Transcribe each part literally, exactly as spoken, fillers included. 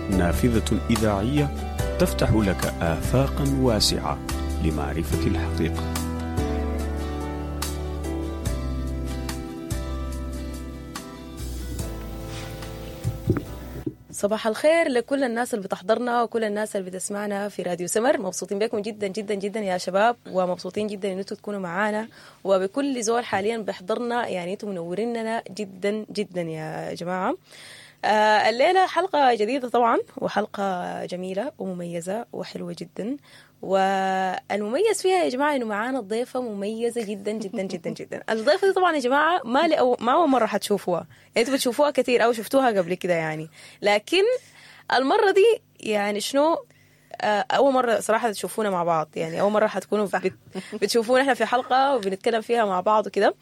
نافذة إذاعية تفتح لك آفاقا واسعة لمعرفة الحقيقة. صباح الخير لكل الناس اللي بتحضرنا وكل الناس اللي بتسمعنا في راديو سمر. مبسوطين بكم جدا جدا جدا يا شباب، ومبسوطين جدا ان انتوا تكونوا معانا، وبكل زول حاليا بيحضرنا، يعني انتوا منوريننا جدا جدا يا جماعة. آه الليلة حلقة جديدة طبعا، وحلقه جميلة ومميزة وحلوه جدا، والمميز فيها يا جماعة انه معانا ضيفه مميزة جدا جدا جدا جدا. الضيفه دي طبعا يا جماعة ما لأو ما اول مرة حتشوفوها، يعني انتوا بتشوفوها كثير او شفتوها قبل كده يعني، لكن المرة دي يعني شنو، اول مرة صراحة تشوفونا مع بعض، يعني اول مرة حتكونوا بت... بتشوفونا احنا في حلقة وبنتكلم فيها مع بعض وكده.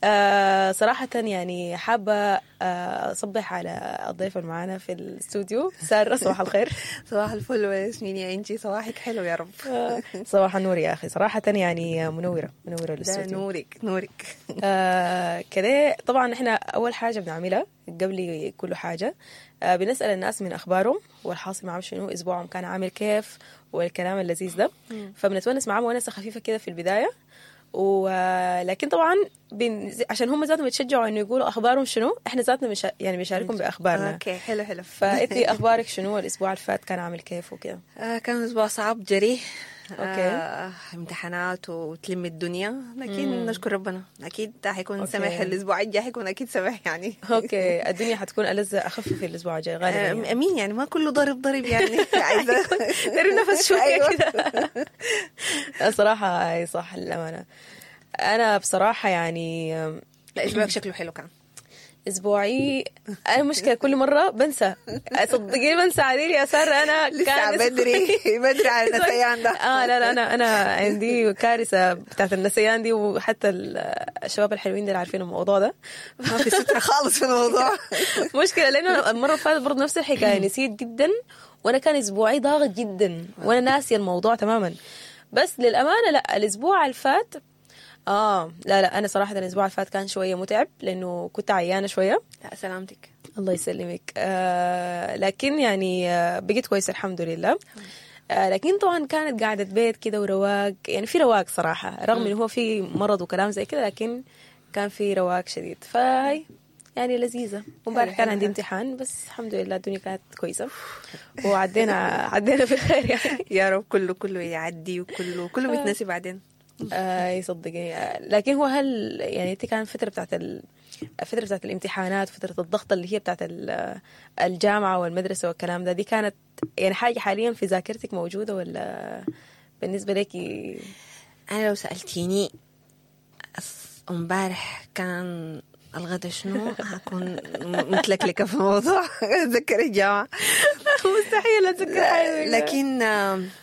آه صراحة يعني حابة اصبح على الضيفه اللي معانا في الاستوديو، ساره. صباح الخير. صباح الفل وياسمين يا انجي، صباحك حلو يا رب. صباح النور يا اخي، صراحة يعني منورة منورة الاستوديو. نورك نورك. آه كده طبعا احنا اول حاجة بنعملها قبل كل حاجة آه بنسال الناس من اخبارهم والحاصل معهم شنو، اسبوعهم كان عامل كيف والكلام اللذيذ ده، فبنتونس معاهم ونسه خفيفة كده في البداية، ولكن طبعا بن... عشان هم ذاتهم يتشجعوا انه يقولوا اخبارهم شنو، احنا ذاتنا مش... يعني بنشاركهم باخبارنا. okay حلو حلو. فانتي اخبارك شنو، الاسبوع اللي فات كان عامل كيف وكده؟ آه كان اسبوع صعب جري. okay. آه امتحانات وتلم الدنيا، لكن مم. نشكر ربنا اكيد حيكون سمح الاسبوع الجاي، حيكون اكيد سمح يعني. okay الدنيا حتكون ألذ اخف في الاسبوع الجاي غالبا يعني. امين، يعني ما كله ضرب ضرب يعني، عايزه تري نفس شوية كده. صراحة اي صح للامانة. انا بصراحة يعني لا اسبوعك شكله حلو كان. اسبوعي انا مشكلة كل مرة بنسى، صدقيني بنسى عديل يا ساره. انا لسه بدري بدري على النسيان ده. اه لا لا انا انا عندي كارثة بتاعت النسيان دي، وحتى الشباب الحلوين اللي عارفين الموضوع ده ما في ستر خالص في الموضوع. مشكلة لانه المرة اللي فاتت برضه نفس الحكاية، نسيت جدا، وانا كان اسبوعي ضاغط جدا وانا ناسيه الموضوع تماما. بس للامانة لا الاسبوع اللي فات آه لا لا أنا صراحة الأسبوع اللي فات كان شوية متعب لأنه كنت عيانة شوية. لا سلامتك. الله يسلمك. آه لكن يعني آه بقيت كويسة الحمد لله. آه لكن طبعا كانت قاعدة بيت كده ورواق، يعني في رواق صراحة، رغم إنه هو في مرض وكلام زي كده، لكن كان في رواق شديد، فهي يعني لذيذة. وامبارح كان عندي امتحان، بس الحمد لله الدنيا كانت كويسة وعدينا عدينا في الخير يعني. يا رب كله كله يعدي وكله كله بيتنسي بعدين. آه يصدقني. لكن هو هل يعني انت كان فترة بتاعت الفترة بتاعت الامتحانات، فترة الضغط اللي هي بتاعت الجامعة والمدرسة والكلام ده، دي كانت يعني حاجة حاليا في ذاكرتك موجودة ولا بالنسبة لك؟ انا لو سالتيني امبارح كان الغدا شنو هكون متلكلكه في الموضوع. اتذكر الجامعة مستحيل اتذكر حاجة، لكن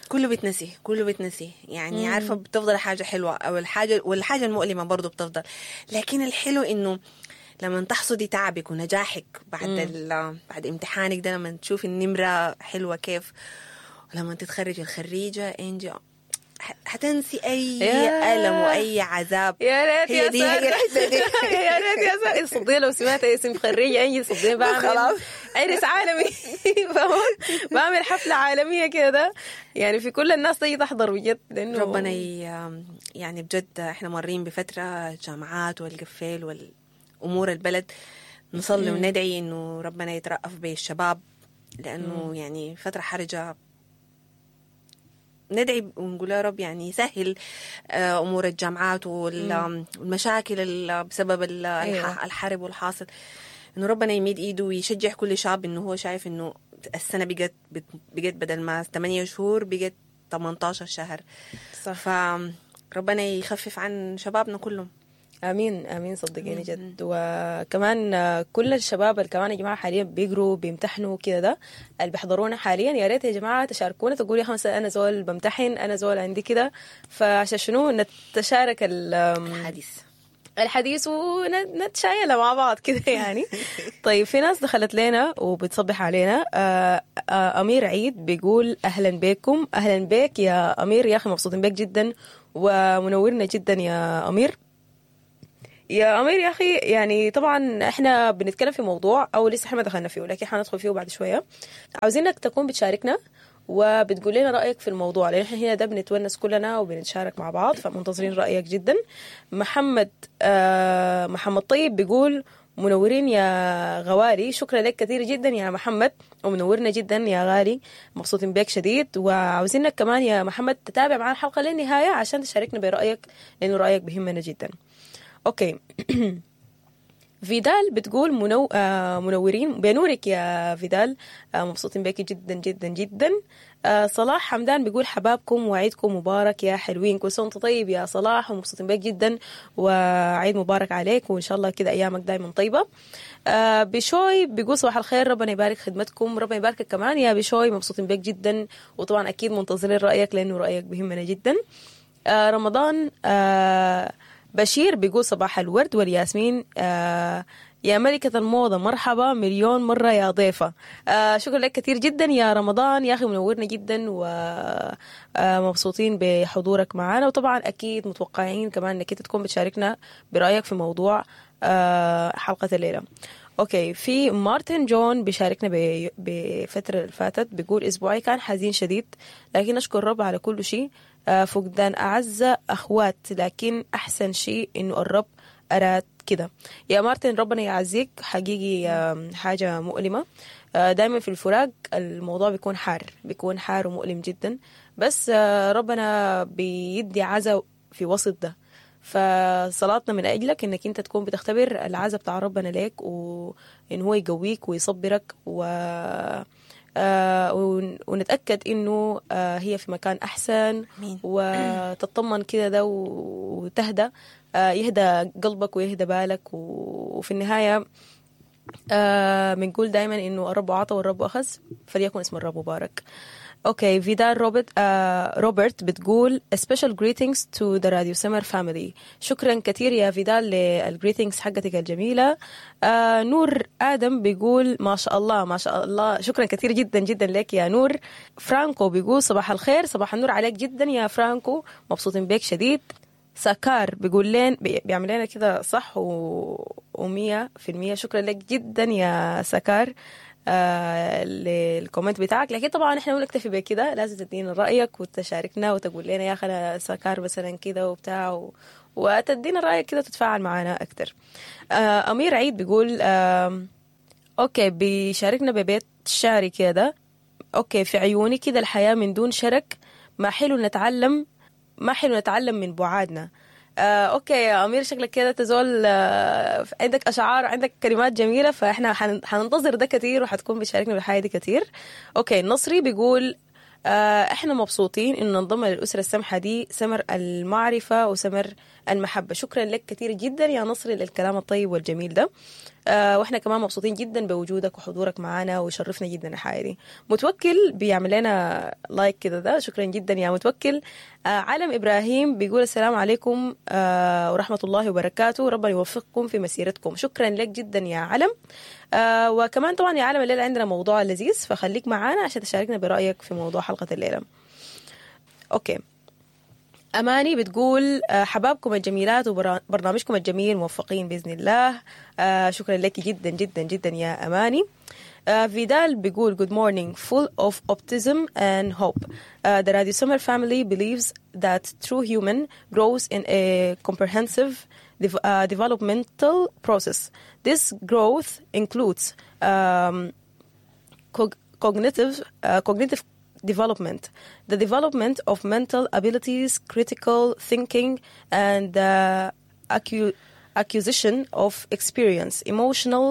كله بتنسي كله بتنسي يعني. مم. عارفه بتفضل حاجة حلوة او الحاجة، والحاجة المؤلمة برضو بتفضل، لكن الحلو انه لما تحصدي تعبك ونجاحك بعد بعد امتحانك ده، لما تشوفي النمرة حلوة كيف، ولما تتخرجي الخريجه انجي حتنسي اي الم واي عذاب. يا ريت يا دي هي الحتة دي. يا ريت يا ساره، صدقني لو سمعت اسم خريجة انجي صدقني بعمل خلاص عرس عالمي، بعمل حفلة عالمية كده يعني، في كل الناس تيجي تحضر بجد، لانه ربنا يعني بجد احنا مارين بفترة جامعات والقفال والامور البلد، نصلي وندعي انه ربنا يترأف بالشباب، لانه يعني فترة حرجه. ندعي ونقول يا رب يعني يسهل امور الجامعات والمشاكل بسبب الحرب والحاصل، انه ربنا يميد ايده ويشجع كل شاب انه هو شايف انه السنة بقت بقت بدل ما ثمانية شهور بقت ثمانية عشر شهر. صح. فربنا يخفف عن شبابنا كلهم. امين امين صدقيني جد. وكمان كل الشباب اللي كمان يا جماعة حاليا بيقروا بيمتحنوا كده، ده اللي بيحضرونا حاليا يا ريت يا جماعة تشاركونا، تقولوا يا خمسة انا زول بمتحن، انا زول عندي كده، فعشان شنو نتشارك الحديث الحديث ونتشايل مع بعض كده يعني. طيب في ناس دخلت لنا وبتصبح علينا. امير عيد بيقول اهلا بكم. اهلا بك يا امير يا اخي، مبسوطين بك جدا ومنورنا جدا يا امير. يا امير يا اخي، يعني طبعا احنا بنتكلم في موضوع او لسه احنا ما دخلنا فيه، لكن حندخل فيه بعد شوية. عاوزينك تكون بتشاركنا وبتقول لنا رايك في الموضوع، لان احنا هنا ده بنتونس كلنا وبنتشارك مع بعض، فمنتظرين رايك جدا. محمد آه محمد طيب بيقول منورين يا غوالي. شكرا لك كثير جدا يا محمد، ومنورنا جدا يا غالي، مبسوطين بك شديد. وعاوزينك كمان يا محمد تتابع معنا الحلقة للنهاية عشان تشاركنا برايك، لانه رايك بيهمنا جدا. okay، فيدال بتقول منو... آه منورين بنورك يا فيدال، آه مبسوطين بك جدا جدا جدا. آه صلاح حمدان بيقول حبابكم وعيدكم مبارك يا حلوين. كل سنة وانت طيب يا صلاح، ومبسوطين بك جدا، وعيد مبارك عليك، وان شاء الله كده ايامك دايما طيبة. آه بشوي بيقول صباح الخير، ربنا يبارك خدمتكم. ربنا يباركك كمان يا بشوي، مبسوطين بك جدا، وطبعا اكيد منتظرين رايك لانه رايك بيهمنا جدا. آه رمضان آه بشير بيقول صباح الورد والياسمين، آه يا ملكة الموضة مرحبا مليون مرة يا ضيفة. آه شكرا لك كثير جدا يا رمضان يا أخي، منورنا جدا ومبسوطين بحضورك معنا، وطبعا أكيد متوقعين كمان أنك أنت تكون بتشاركنا برأيك في موضوع آه حلقة الليلة. okay، في مارتن جون بيشاركنا ب- بفترة اللي فاتت، بيقول اسبوعي كان حزين شديد، لكن اشكر الرب على كل شيء. آه، فقدان اعز اخوات، لكن احسن شيء انه الرب اراد كده. يا مارتن ربنا يعزيك حقيقي، آم، حاجة مؤلمة. آه، دايما في الفراق الموضوع بيكون حار، بيكون حار ومؤلم جدا، بس آه، ربنا بيدي عزا في وسط ده. فصلاتنا من أجلك إنك أنت تكون بتختبر العزا بتاع ربنا ليك، وإن هو يقويك ويصبرك، و آه، ون- ونتأكد إنه آه، هي في مكان أحسن. آمين. وتطمن كده ده وتهدى، آه، يهدى قلبك ويهدى بالك. و- وفي النهاية آه بنقول دايما انه الرب عطى والرب اخذ، فليكن اسم الرب مبارك. okay، فيدال روبرت آه روبرت بتقول a special greetings to the Radio Summer family. شكرا كثير يا فيدال لل greetings حقتك الجميلة. آه نور آدم بيقول ما شاء الله ما شاء الله، شكرا كثير جدا جدا لك يا نور. فرانكو بيقول صباح الخير، صباح النور عليك جدا يا فرانكو، مبسوطين بك شديد. سكار بيقول لين بي- بيعمل لنا كده صح و... ومية في المية. شكرا لك جدا يا سكار آه لل comment بتاعك. لكن طبعا احنا ما نكتفي بكده، لازم تدينا رأيك وتشاركنا وتقول لنا يا اخي انا سكار مثلا كده وبتاع و... وتدينا رأيك كده وتتفاعل معنا أكتر. آه أمير عيد بيقول آه okay، بيشاركنا ببيت شعري كده. okay، في عيوني كده الحياة من دون شرك، ما حلو نتعلم، ما حلو نتعلم من بعادنا. آه، okay يا امير، شكلك كده تزول آه، عندك اشعار، عندك كلمات جميله، فاحنا حن- حننتظر ده كتير، وحتكون بتشاركنا بالحياة دي كتير. okay، النصري بيقول آه، احنا مبسوطين انه ننضم للاسرة السمحة دي، سمر المعرفة وسمر المحبة. شكرا لك كثير جدا يا نصري للكلام الطيب والجميل ده. آه، واحنا كمان مبسوطين جدا بوجودك وحضورك معنا، ويشرفنا جدا الحياة دي. متوكل بيعمل لنا like كده ده، شكرا جدا يا متوكل. آه، عالم ابراهيم بيقول السلام عليكم آه، ورحمة الله وبركاته، ربنا يوفقكم في مسيرتكم. شكرا لك جدا يا علم. آه، وكمان طبعا يا عالم الليلة عندنا موضوع لذيذ، فخليك معانا عشان تشاركنا برايك في موضوع حلقة الليلة. okay، أماني بتقول آه، حبابكم الجميلات وبرنامجكم الجميل، موفقين بإذن الله. آه، شكرا لك جدا جدا جدا يا أماني. آه، فيدال بيقول good morning full of optimism and hope. Uh, the Radio Summer family believes that true human grows in a comprehensive dev- uh, developmental process. This growth includes um, cog- cognitive uh, cognitive development, the development of mental abilities, critical thinking, and the accu- acquisition of experience, emotional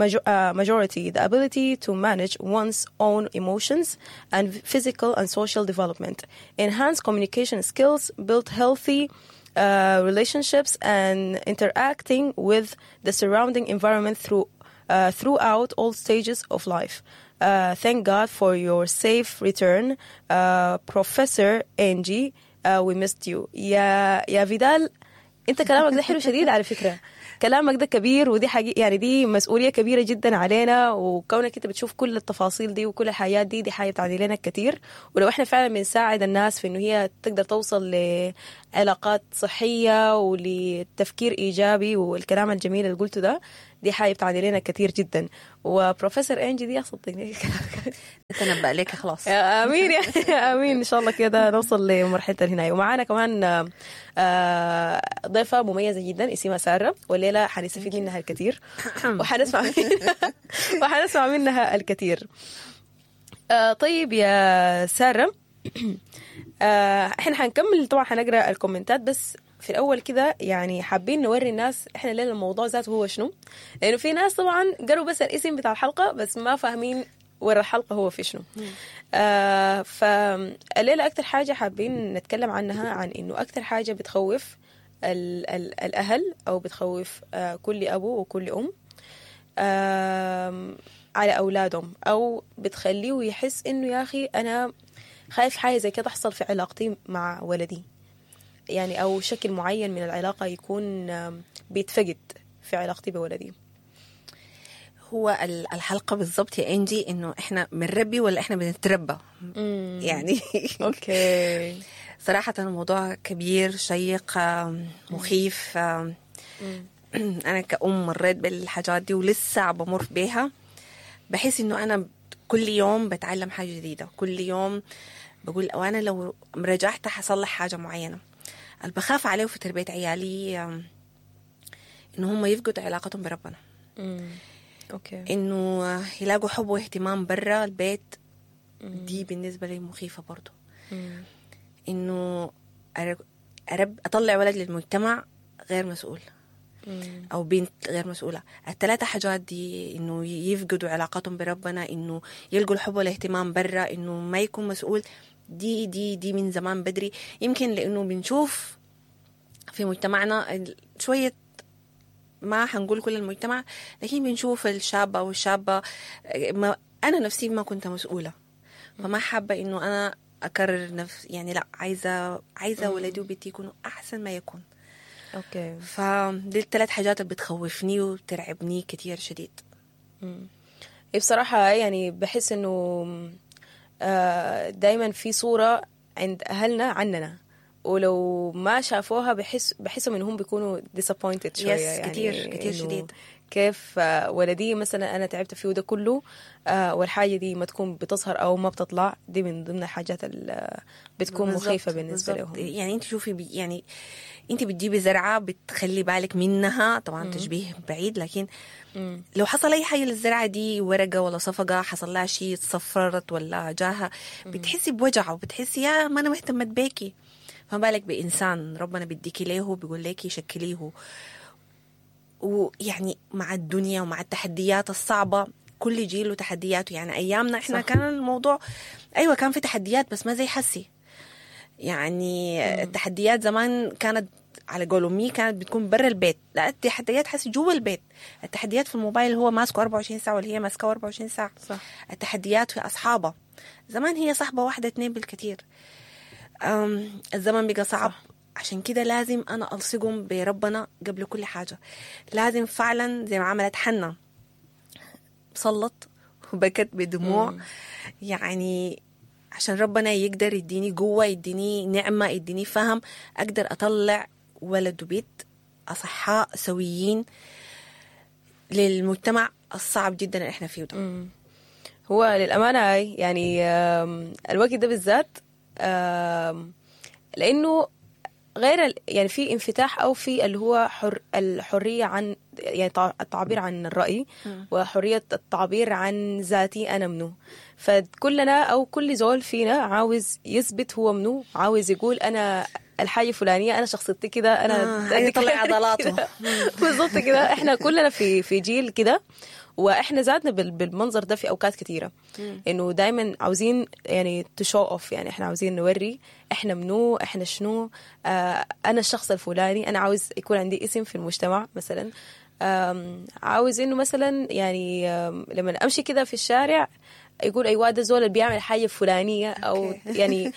major- uh, majority, the ability to manage one's own emotions, and physical and social development, enhance communication skills, build healthy uh, relationships, and interacting with the surrounding environment through uh, throughout all stages of life. Uh, thank God for your safe return, uh, Professor Angie. Uh, we missed you. يا يا فيدال، انت كلامك ده حلو شديد على فكرة. كلامك ده كبير، ودي حقيقة يعني دي مسؤولية كبيرة جدا علينا، وكونك انت بتشوف كل التفاصيل دي وكل الحياة دي، دي حاجة بتعني لنا كتير. ولو احنا فعلا بنساعد الناس في انه هي تقدر توصل لعلاقات صحية ولتفكير ايجابي والكلام الجميل اللي قلته ده، دي حاجة بتعني لنا كتير جدا. وبروفيسور انجي دي صدقني تنبأ لك خلاص. امين يا امين، ان شاء الله كده نوصل لمرحلة الهنايه. ومعانا كمان آه، ضيفه مميزة جدا اسمها ساره، والليلة حنستفيد منها الكثير وحنسمع منها وحنسمع منها الكثير. آه، طيب يا ساره، آه، احنا حنكمل طبعا، حنقرا الكومنتات، بس في الاول كده يعني حابين نوري الناس احنا ليه الموضوع ذاته هو شنو، لانه في ناس طبعا قروا بس الاسم بتاع الحلقة بس ما فاهمين ورا الحلقة هو في شنو. آه فالليله اكثر حاجة حابين نتكلم عنها عن انه اكثر حاجة بتخوف ال ال الاهل او بتخوف آه كل ابو وكل ام آه على اولادهم، او بتخليه يحس انه يا اخي انا خايف حاجة زي كده تحصل في علاقتي مع ولدي، يعني او شكل معين من العلاقة يكون آم، بيتفقد في علاقتي بولدي. هو ال- الحلقة بالضبط يا انجي انه احنا بنربي ولا احنا بنتربى يعني. okay. صراحة الموضوع كبير شيق، آم، مخيف. آم، أنا كأم مريت بالحاجات دي ولسه بمر بيها. بحس إنه أنا كل يوم بتعلم حاجة جديدة، كل يوم بقول وأنا لو رجعت حصلح حاجة معينة. اللي بخاف عليه في تربية عيالي آم، إنه هم يفقدوا علاقتهم بربنا، okay. إنه يلاقوا حب واهتمام برا البيت. دي بالنسبة لي مخيفة برضو، إنه أر- أرب أطلع ولد للمجتمع غير مسؤول أو بنت غير مسؤولة. الثلاثة حاجات دي، إنه يفقدوا علاقتهم بربنا، إنه يلقوا الحب والاهتمام برا، إنه ما يكون مسؤول، دي دي دي من زمان بدري. يمكن لأنه بنشوف في مجتمعنا ال- شوية، ما حنقول كل المجتمع، لكن بنشوف الشاب أو الشابة. ما أنا نفسي ما كنت مسؤولة، فما حابة إنه أنا أكرر نفس، يعني لا، عايزة عايزة ولدي وبنتي يكونوا أحسن ما يكون. okay. فدي الثلاث حاجات اللي بتخوفني وبترعبني كتير شديد. إيه بصراحة يعني بحس إنه آه، دايما في صورة عند أهلنا عننا، ولو ما شافوها بحس بحسهم إنهم بيكونوا disappointed شوية. yes، يعني كتير- كتير إنه شديد. كيف آه، ولدي مثلا أنا تعبت فيه ده كله، آه، والحاجة دي ما تكون بتظهر أو ما بتطلع، دي من ضمن الحاجات اللي بتكون بالظبط، مخيفة بالنسبة بالظبط. لهم. يعني انت شوفي بي يعني انت بتجيبي زرعه بتخلي بالك منها، طبعا تشبيه بعيد، لكن لو حصل اي حاجة للزرعه دي، ورقة ولا صفقة حصل لها شيء، تصفرت ولا جاها، بتحسي بوجع وبتحسي يا ما انا ما اهتمت بيكي. فما بالك بانسان ربنا بيديكي ليه بيقول لك شكلية، ويعني مع الدنيا ومع التحديات الصعبة، كل جيل وتحدياته. يعني أيامنا إحنا صح. كان الموضوع أيوة كان في تحديات بس ما زي حسي. يعني التحديات زمان كانت على قول أمي كانت بتكون برا البيت، لا التحديات حسي جوا البيت. التحديات في الموبايل هو ماسكه أربعة وعشرين ساعة ولا هي ماسكه أربعة وعشرين ساعة. صح. التحديات في أصحابها، زمان هي صاحبة واحدة اتنين بالكثير. أم، الزمن بقى صعب. صح. عشان كده لازم أنا ألصقهم بربنا قبل كل حاجة. لازم فعلا زي ما عملت حنا، صلت وبكت بدموع، يعني عشان ربنا يقدر يديني قوة، يديني نعمة، يديني فهم، أقدر أطلع ولد وبيت أصحاء سويين للمجتمع الصعب جدا اللي احنا فيه ده. هو للأمانة هاي يعني آم، الوقت ده بالذات، آم، لأنه غير ال- يعني في انفتاح أو في اللي هو حر الحرية عن يعني تع- التعبير عن الرأي وحرية التعبير عن ذاتي أنا منو. فكلنا أو كل زول فينا عاوز يثبت هو منو، عاوز يقول أنا الحاجة الفلانية، أنا شخصيتي كده، أنا آه، عايز يطلع عضلاته. كده. بالظبط كده، احنا كلنا في في جيل كده، واحنا ذاتنا بال- بالمنظر ده في اوقات كثيرة، انه دائما عاوزين يعني to show off، يعني احنا عاوزين نوري احنا منو، احنا شنو، آه انا الشخص الفلاني، انا عاوز يكون عندي اسم في المجتمع مثلا، آم، عاوز انه مثلا يعني آم، لما امشي كده في الشارع يقول ايوه ده زول اللي بيعمل حاجة فلانيه او okay. يعني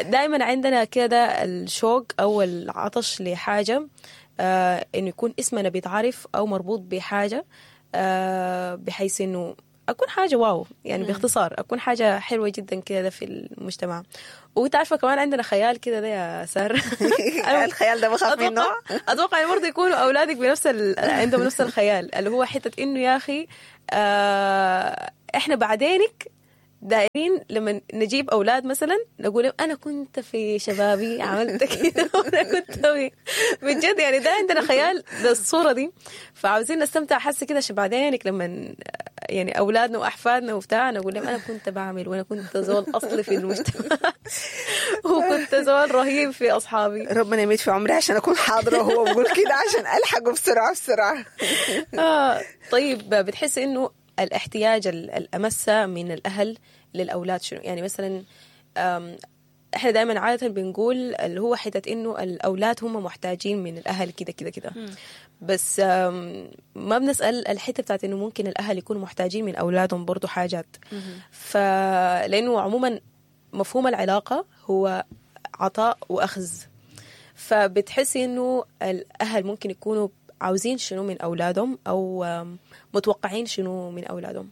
دائما عندنا كده الشوق او العطش لحاجة آه انه يكون اسمنا بيتعرف او مربوط بحاجة، آه بحيث انه اكون حاجة wow، يعني باختصار اكون حاجة حلوة جدا كده في المجتمع. وانت عارفه كمان عندنا خيال كده ده يا ساره. الخيال ده بخاف منه. اتوقع برضه يكونوا اولادك بنفس ال... عندهم نفس الخيال، اللي هو حتة انه يا اخي آه احنا بعدينك دايرين لما نجيب اولاد مثلا نقول انا كنت في شبابي عملت كده وانا كنت بجد، يعني ده عندنا خيال بالصورة دي. فعاوزين نستمتع حس كده عشان بعدينك لما يعني اولادنا واحفادنا وبتاع نقول لهم انا كنت بعمل وانا كنت زول اصلي في المجتمع وكنت زول رهيب في اصحابي. ربنا يميت في عمري عشان اكون حاضره وهو بقول كده عشان الحقه بسرعة بسرعة. آه طيب، بتحس انه الاحتياج الأمسة من الأهل للأولاد شنو؟ يعني مثلا احنا دائما عادة بنقول اللي هو حتة انه الأولاد هم محتاجين من الأهل كده كده كده، بس ما بنسأل الحتة بتاعت انه ممكن الأهل يكونوا محتاجين من أولادهم برضو حاجات. فلأنه عموما مفهوم العلاقة هو عطاء وأخذ، فبتحسي انه الأهل ممكن يكونوا عاوزين شنو من أولادهم أو متوقعين شنو من أولادهم؟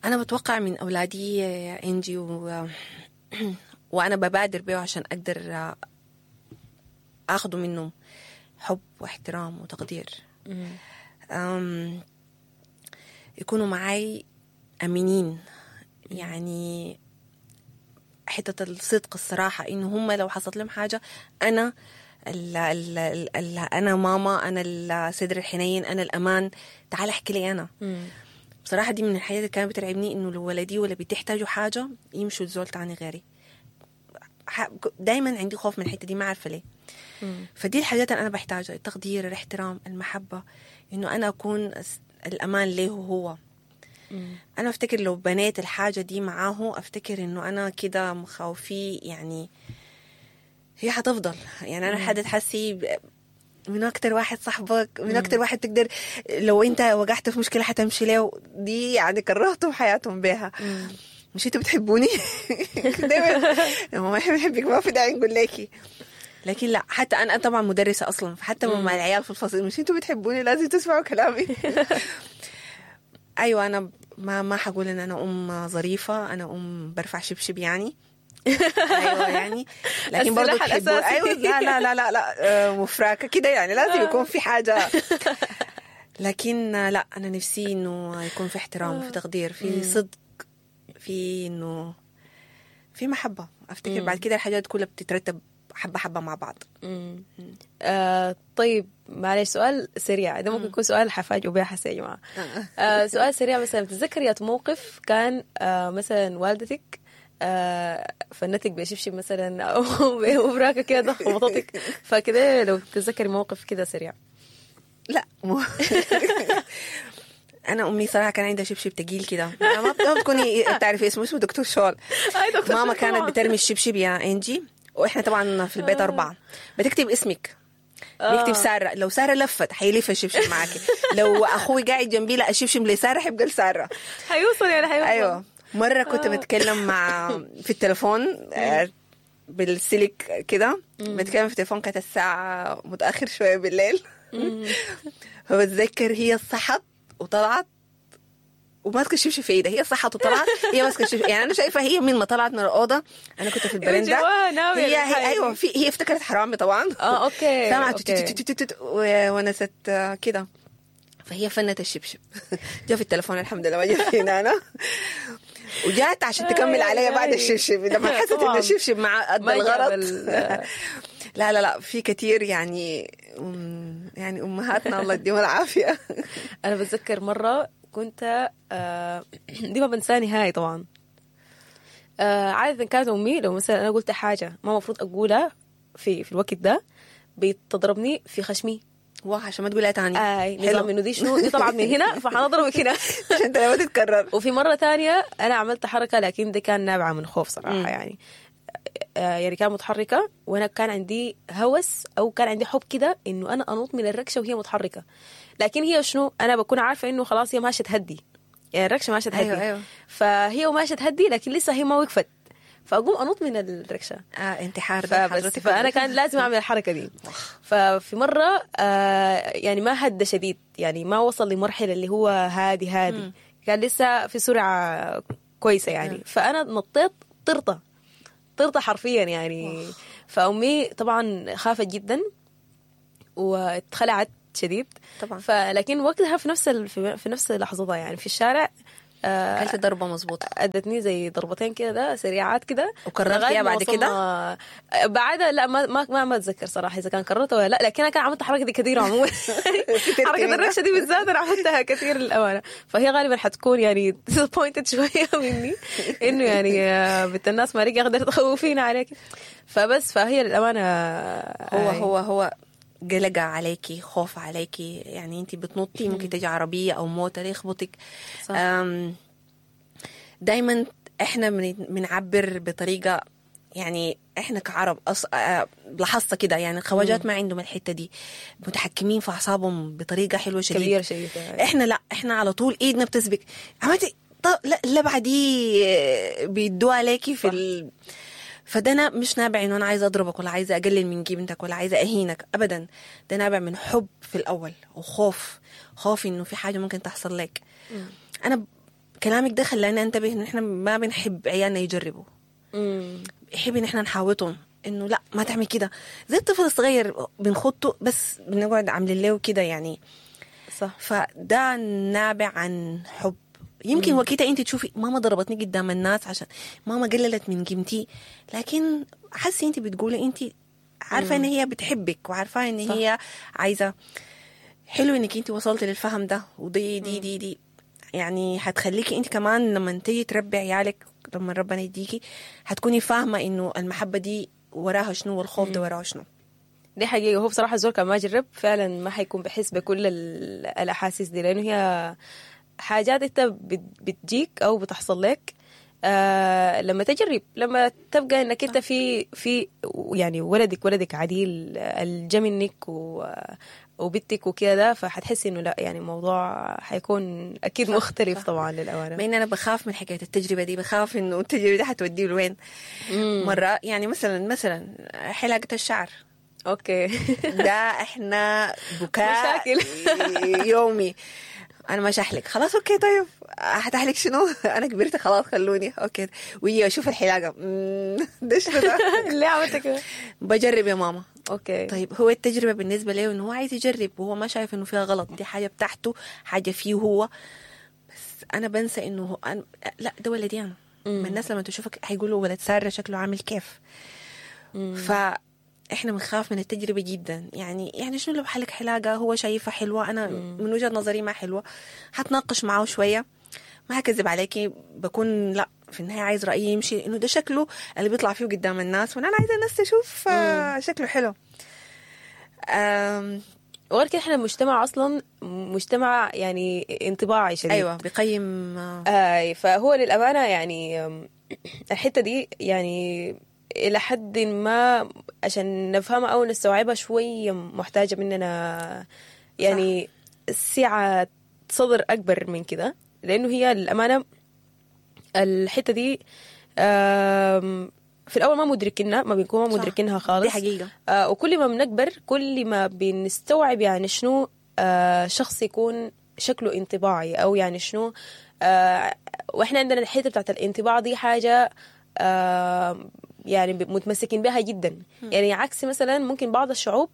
أنا بتوقع من أولادي يا إنجي و... وأنا ببادر بيه عشان أقدر أخده منهم حب واحترام وتقدير. أم... يكونوا معاي أمينين، يعني حتة الصدق الصراحة، إنه هم لو حصلت لهم حاجة أنا ال ال ال ال أنا ماما، أنا الصدر الحنين، أنا الأمان، تعال احكي لي أنا. مم. بصراحة دي من الحاجات اللي كانت بترعبني، إنه لو ولدي ولا بتحتاجوا حاجة يمشوا لزول تاني غيري. دايما عندي خوف من الحتة دي، ما عارفة ليه. مم. فدي الحاجات اللي أنا بحتاجها، التقدير، الاحترام، المحبة، إنه أنا أكون الأمان له هو. مم. أنا أفتكر لو بنيت الحاجة دي معاه، أفتكر إنه أنا كده مخاوفي يعني هي حتفضل. يعني أنا حد تحسي من أكتر واحد صاحبك، من أكتر واحد تقدر لو أنت وقعت في مشكلة حتمشي له، دي يعني كرهتهم حياتهم بيها. مش أنتوا بتحبوني؟ دايما ما إحنا بنحبك، ما في داعي نقول لكي. لكن لا، حتى أنا طبعا مدرسة أصلا، فحتى مع العيال في الفصل مش أنتوا بتحبوني، لازم تسمعوا كلامي. أيوة، أنا ما ما حقول إن أنا أم ظريفة، أنا أم برفع شبشب يعني. ايوه يعني، لكن برضه تحبوا. ايوه لا لا لا لا لا مفراكه كده يعني، لازم يكون في حاجة. لكن لا، انا نفسي انه يكون في احترام، في تقدير، في صدق، في انه في محبة. افتكر بعد كده الحاجات كلها بتترتب حبه حبه مع بعض. آه طيب معلش سؤال سريع، ده ممكن يكون سؤال حفاجئ بيه حسي يا جماعة. آه سؤال سريع، مثلا بتتذكري موقف كان آه مثلا والدتك آه فنتك بشبشب مثلا او بمبراكه كده خبطتك، فكده لو تتذكري موقف كده سريع. لا مو انا امي صراحة كان عندها شبشب تقيل كده، ما بتكوني بتعرفي اسمه، اسمه دكتور شول. ماما كانت بترمي الشبشب يا انجي، واحنا طبعا في البيت اربعة، بتكتب اسمك، بيكتب ساره، لو ساره لفت حيلف الشبشب معاكي، لو اخوي قاعد جنبي لا الشبشب لساره حيبقى لساره، حيوصل يعني حيوصل. ايوه، مرة كنت بتكلم مع في التليفون بالسلك كده، بتكلم في التليفون، كانت الساعة متأخر شوية بالليل. فبتذكر هي صحت وطلعت وماسكة الشبشب في ايدها، هي صحت وطلعت هي ماسكة الشبشب، يعني أنا شايفة هي من ما طلعت من الأوضة، أنا كنت في البرندة، هي, هي أيوة في هي افتكرت حرامي طبعا. آه okay، سمعت ونست كده، فهي فنت الشبشب. جا في التليفون الحمد لله، ما جا فينا أنا. وجات عشان تكمل عليا بعد الشبشب لما حست ان الشبشب مع ادى الغرض. لا لا لا، في كثير يعني يعني امهاتنا الله يديهم العافية. انا بتذكر مرة كنت آه دي ما بنساها نهائي طبعا. آه عادة كانت امي لو مثلا انا قلت حاجة ما المفروض اقولها في في الوقت ده بتضربني في خشمي، واه عشان ما تقولها تاني. آه نظام انه دي شنو، دي طلعت من هنا فحنضربك هنا عشان انت ما تتكرر. وفي مرة تانية انا عملت حركة، لكن دي كان نابعة من خوف صراحة. مم. يعني آه يعني كان متحركة، وانا كان عندي هوس او كان عندي حب كده انه انا انط من الركشه وهي متحركة، لكن هي شنو، انا بكون عارفه انه خلاص هي ماشية تهدي، يعني الركشه ماشية تهدي. أيوة أيوة. فهي وماشية تهدي، لكن لسه هي ما وقفت، فاقوم انط من الركشه. آه انتحار ده فبس حضرتك. فانا كان لازم اعمل الحركة دي. ففي مرة آه يعني ما هدى شديد، يعني ما وصل لمرحلة اللي هو هادي هادي، كان لسه في سرعة كويسة يعني. فانا نطيت طرطه طرطه حرفيا يعني. فامي طبعا خافت جدا واتخلعت شديد طبعا. فلكن وقتها في نفس ال... في في نفس لحظتها يعني في الشارع آه، اكلت ضربه مظبوطة. ادتني زي ضربتين كده ده سريعات كده. وكررتيها لغاية ما بعد كده؟ وصلنا- بعدها لا ما ما ما, ما اتذكر صراحة اذا كان كررتها ولا لا، لكن انا كان عملت الحركة دي كثير عموما. حركة منها. الركشه دي بالذات انا عملتها كثير للامانة. فهي غالبا حتكون يعني disappointed شوية مني انه يعني آه، بنت الناس ما رجع قدرت تخوفينا عليك. فبس فهي للامانة هو آه، هو هو قلقة عليكي، خوف عليكي، يعني انت بتنطي ممكن تجي عربية او موتر يخبطك. صح. أم، دايما احنا بن- بنعبر بطريقة، يعني احنا كعرب أص... آه، لاحظت كده يعني الخواجات ما عندهم الحتة دي، متحكمين في اعصابهم بطريقة حلوة شديد كبيرة شديد يعني. احنا لا، احنا على طول ايدنا بتسبك، عملتي طب لا اللبعه دي آه، بيدوها عليكي في ال... فده انا مش نابع انه انا عايزه اضربك ولا عايزه اقلل من قيمتك ولا عايزه اهينك ابدا، ده نابع من حب في الاول وخوف، خوف انه في حاجة ممكن تحصل لك. انا ب- كلامك ده خلاني انتبه ان احنا ما بنحب عيالنا يجربوا، مم. بنحب ان احنا نحاوطهم انه لا ما تعمل كده، زي الطفل الصغير بنخطه بس بنقعد عاملين له كده يعني. صح. فده نابع عن حب. يمكن وقتها انت تشوفي ماما ضربتني قدام الناس عشان ماما قللت من قيمتي، لكن حسي انت بتقولي انت عارفه ان هي بتحبك وعارفه ان صح. هي عايزه. حلو انك انت وصلتي للفهم ده، ودي دي دي دي يعني هتخليكي انت كمان لما تيجي تربي عيالك، لما ربنا يديكي، هتكوني فاهمه انه المحبة دي وراها شنو والخوف ده وراه شنو. دي حقيقة. هو بصراحة الزول كان ما جرب فعلا ما حيكون بحس بكل ال- الأحاسيس دي، لأنه هي حاجات أنت بت- بتجيك أو بتحصل لك آه لما تجرب، لما تبقى إنك أنت في في يعني ولدك ولدك عديل الجا منك و وبنتك وكده، فحتحسي إنه لا يعني الموضوع حيكون أكيد مختلف صح. طبعا للأمانة. مع ان انا بخاف من حكاية التجربة دي، بخاف انه التجربة دي حتوديه لوين. مرة يعني مثلا مثلا حلاقه الشعر okay ده احنا بكاء مشاكل. يومي. انا ما شحلك خلاص، okay طيب هتحلك شنو؟ انا كبرت خلاص خلوني okay. ويجي اشوف الحلاقة، مم، ده شنو ده؟ ليه عملت كده؟ بجرب يا ماما. okay طيب هو التجربة بالنسبة له انه هو عايز يجرب وهو ما شايف انه فيها غلط، دي حاجة بتاعته، حاجة فيه هو. بس انا بنسى انه هو أنا لا ده ولدي انا. ما الناس لما تشوفك هيقولوا ولد ساره شكله عامل كيف. فاحنا بنخاف من التجربة جدا. يعني يعني شنو لو حلق حلاقه هو شايفها حلوة، انا من وجهه نظري ما حلوة، هتناقش معاه شوية، ما هكذب عليكي بكون لا في النهاية عايز رايي يمشي انه ده شكله اللي بيطلع فيه قدام الناس، وانا عايزه الناس تشوف آه، شكله حلو. أم، وغير كده احنا مجتمع اصلا مجتمع يعني انطباعي شديد. ايوه بيقيم آه، آه فهو للأمانة يعني أم، الحتة دي يعني إلى حد ما عشان نفهمها أو نستوعبها شوية محتاجة مننا يعني سعة صدر أكبر من كده، لأنه هي للأمانة الحتة دي آم، في الأول ما مدركينها، ما بنكون ما صح. مدركينها خالص. دي حقيقة. آه، وكل ما بنكبر كل ما بنستوعب يعني شنو آه، شخص يكون شكله انطباعي او يعني شنو آه، واحنا عندنا الحتة بتاعت الانطباع دي حاجة آه، يعني متمسكين بها جدا. يعني عكس مثلا ممكن بعض الشعوب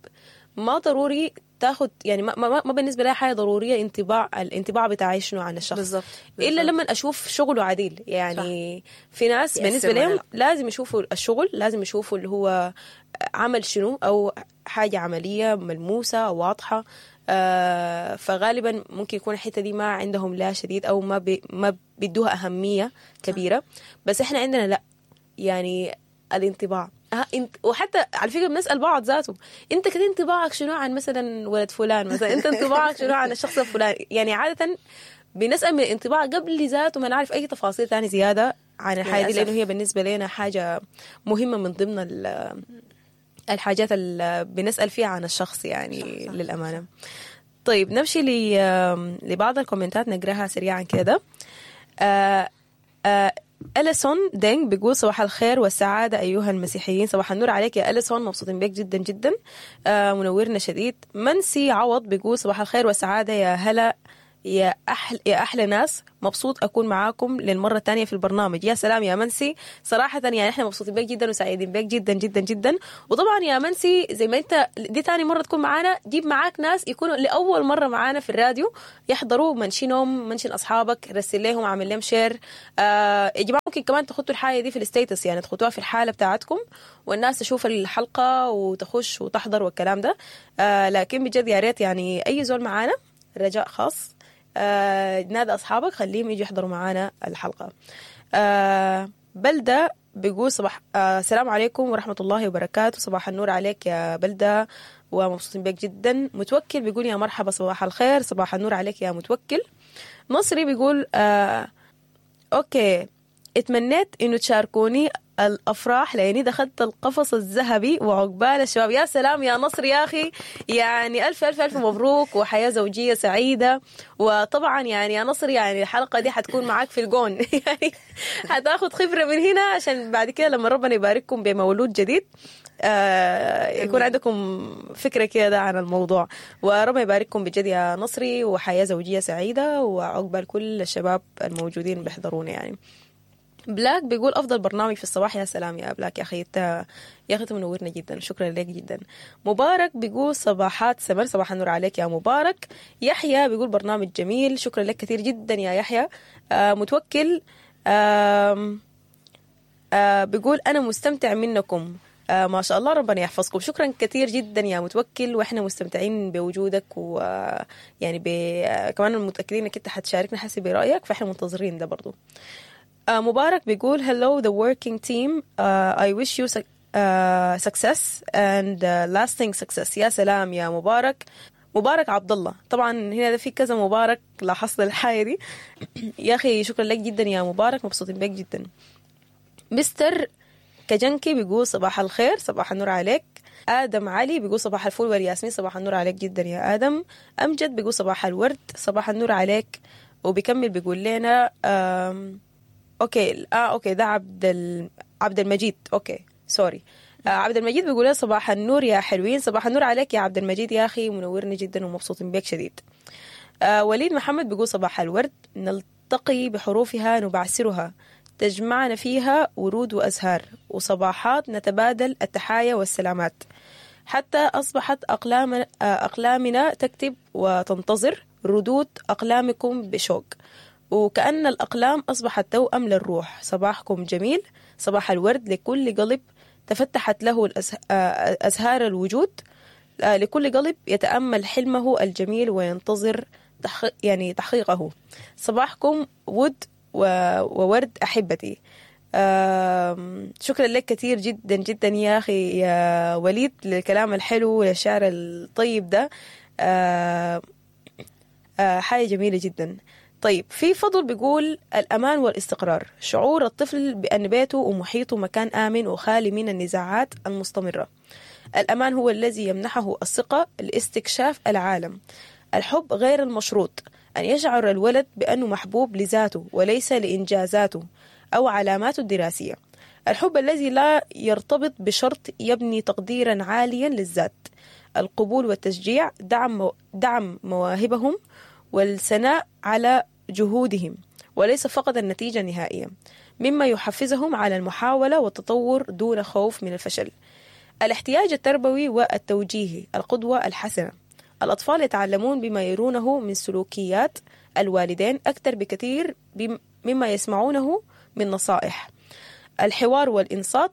ما ضروري تاخد يعني ما, ما, ما بالنسبة لها حاجة ضرورية انطباع الانطباع بتاعي شنو عن الشخص بالظبط. الا لما اشوف شغله عديل. يعني في ناس يأثر بالنسبة ولا لهم لا. لازم يشوفوا الشغل، لازم يشوفوا اللي هو عمل شنو او حاجة عملية ملموسة واضحة. آه فغالبا ممكن يكون الحتة دي ما عندهم لا شديد او ما بي ما بيدوها اهمية كبيرة. بس احنا عندنا لا يعني الانطباع آه انت وحتى على فكرة بنسال بعض ذاته انت كده انطباعك شنو عن مثلا ولد فلان، مثلا انت انطباعك شنو عن الشخص الفلاني. يعني عادة بنسال من الانطباع قبل ذاته ما نعرف اي تفاصيل ثانية زيادة عن الحاجة دي، للأسف. لانه هي بالنسبة لنا حاجة مهمة من ضمن ال- الحاجات اللي بنسال فيها عن الشخص يعني. صح، صح. للامانة. طيب نمشي ل- لبعض الكومنتات نقراها سريعا كده. آه آه أليسون دينج بيقول صباح الخير والسعادة أيها المسيحيين. صباح النور عليك يا أليسون، مبسوطين بك جدا جدا، آه منورنا شديد. منسي عوض بيقول صباح الخير والسعادة يا هلا يا أحلى يا أحلى ناس، مبسوط أكون معاكم للمرة الثانية في البرنامج. يا سلام يا منسي، صراحة يعني إحنا مبسوطين بك جدا وسعيدين بك جدا جدا جدا. وطبعا يا منسي زي ما أنت دي ثاني مرة تكون معانا، جيب معاك ناس يكونوا لأول مرة معانا في الراديو يحضروا، mention هم، mention أصحابك، رسل لهم، عامل لهم share. آه يا جماعة ممكن كمان تخطوا الحاجة دي في ال status، يعني تخطوها في الحالة بتاعتكم والناس تشوف الحلقة وتخش وتحضر والكلام ده. آه لكن بجد يا ريت يعني أي زول معانا رجاء خاص، آه نادى أصحابك خليهم يجوا يحضروا معانا الحلقة. آه بلدة بيقول صباح آه السلام عليكم ورحمة الله وبركاته. صباح النور عليك يا بلدة ومبسوطين بك جدا. متوكل بيقول يا مرحبا صباح الخير. صباح النور عليك يا متوكل. نصري بيقول آه okay، اتمنيت إنه تشاركوني الأفراح لأني دخلت القفص الذهبي وعقبال الشباب. يا سلام يا نصر يا أخي، يعني ألف ألف ألف مبروك وحياة زوجية سعيدة. وطبعا يعني يا نصر يعني الحلقة دي حتكون معاك في الجون يعني حتاخد خبرة من هنا عشان بعد كده لما ربنا يبارككم بمولود جديد آه يكون عندكم فكرة كده عن الموضوع. وربنا يبارككم بجد يا نصري وحياة زوجية سعيدة وعقبال كل الشباب الموجودين بيحضرونا. يعني بلاك بيقول أفضل برنامج في الصباح. يا سلام يا بلاك يا أخي، انت يا أخي منورنا جدا، شكرا لك جدا. مبارك بيقول صباحات سمر، صباح النور عليك يا مبارك. يحيى بيقول برنامج جميل، شكرا لك كثير جدا يا يحيى. آه متوكل آه آه بيقول أنا مستمتع منكم، آه ما شاء الله ربنا يحفظكم. شكرا كثير جدا يا متوكل، واحنا مستمتعين بوجودك، ويعني ب... كمان متأكدين انك انت حتشاركنا حسب رأيك، فاحنا منتظرين ده برضو. آه مبارك بيقول hello the working team, uh, I wish you uh, success and uh, lasting success. يا سلام يا مبارك. مبارك عبد الله، طبعا هنا ده في كذا مبارك، لاحظت الحاجة دي يا أخي شكرا لك جدا يا مبارك، مبسوطين بك جدا. مستر كجنكي بيقول صباح الخير، صباح النور عليك. آدم علي بيقول صباح الفل والياسمين، صباح النور عليك جدا يا آدم. أمجد بيقول صباح الورد، صباح النور عليك. وبيكمل بيقول لنا okay اه okay ده عبد ال... عبد المجيد، okay sorry. آه عبد المجيد بيقول صباح النور يا حلوين، صباح النور عليك يا عبد المجيد يا اخي، منورني جدا ومبسوطين بك شديد. آه وليد محمد بيقول صباح الورد، نلتقي بحروفها نبعثرها، تجمعنا فيها ورود وازهار، وصباحات نتبادل التحايا والسلامات، حتى اصبحت اقلام اقلامنا تكتب وتنتظر ردود اقلامكم بشوق، وكأن الأقلام أصبحت توأم للروح. صباحكم جميل، صباح الورد لكل قلب تفتحت له أزهار الوجود، لكل قلب يتأمل حلمه الجميل وينتظر يعني تحقيقه. صباحكم ود وورد أحبتي. شكرا لك كثير جدا جدا يا أخي يا وليد للكلام الحلو وللشعر الطيب ده، حاجة جميلة جدا. طيب في فضل بيقول الأمان والاستقرار، شعور الطفل بأن بيته ومحيطه مكان آمن وخالي من النزاعات المستمرة. الأمان هو الذي يمنحه الثقة لاستكشاف العالم. الحب غير المشروط، أن يشعر الولد بأنه محبوب لذاته وليس لإنجازاته أو علاماته الدراسية. الحب الذي لا يرتبط بشرط يبني تقديرا عاليا للذات. القبول والتشجيع، دعم دعم مواهبهم والثناء على جهودهم وليس فقط النتيجة النهائية، مما يحفزهم على المحاولة والتطور دون خوف من الفشل. الاحتياج التربوي والتوجيهي، القدوة الحسنة. الأطفال يتعلمون بما يرونه من سلوكيات الوالدين أكثر بكثير مما يسمعونه من نصائح. الحوار والإنصات،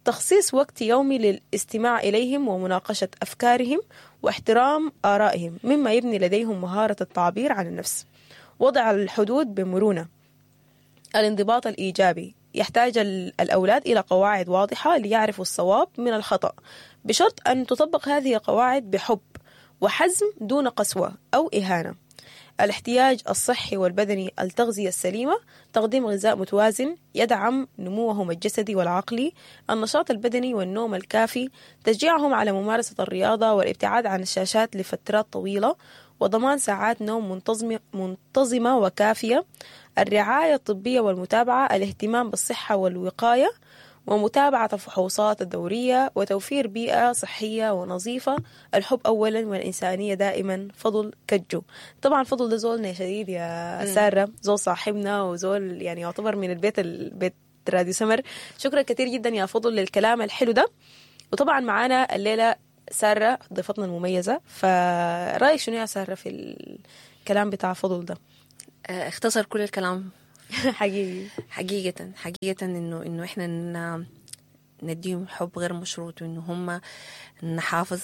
تخصيص وقت يومي للاستماع إليهم ومناقشة أفكارهم واحترام آرائهم، مما يبني لديهم مهارة التعبير عن النفس. وضع الحدود بمرونة. الانضباط الإيجابي، يحتاج الأولاد إلى قواعد واضحة ليعرفوا الصواب من الخطأ، بشرط أن تطبق هذه القواعد بحب وحزم دون قسوة أو إهانة. الاحتياج الصحي والبدني، التغذية السليمة، تقديم غذاء متوازن يدعم نموهم الجسدي والعقلي، النشاط البدني والنوم الكافي، تشجيعهم على ممارسة الرياضة والابتعاد عن الشاشات لفترات طويلة، وضمان ساعات نوم منتظمة, منتظمة وكافية، الرعاية الطبية والمتابعة، الاهتمام بالصحة والوقاية، ومتابعة الفحوصات الدورية، وتوفير بيئة صحية ونظيفة، الحب أولا والإنسانية دائما. فضل كجو. طبعا فضل ده زولنا شديد يا سارة، زول صاحبنا وزول يعني يعتبر من البيت البيت راديو سمر. شكرا كثير جدا يا فضل للكلام الحلو ده. وطبعا معانا الليلة سارة ضيفتنا المميزة، فرأيك شنو يا سارة في الكلام بتاع فضل ده؟ آه، اختصر كل الكلام حقيقي حقيقة حقيقة انه انه احنا ن- نديهم حب غير مشروط، وانه هم نحافظ.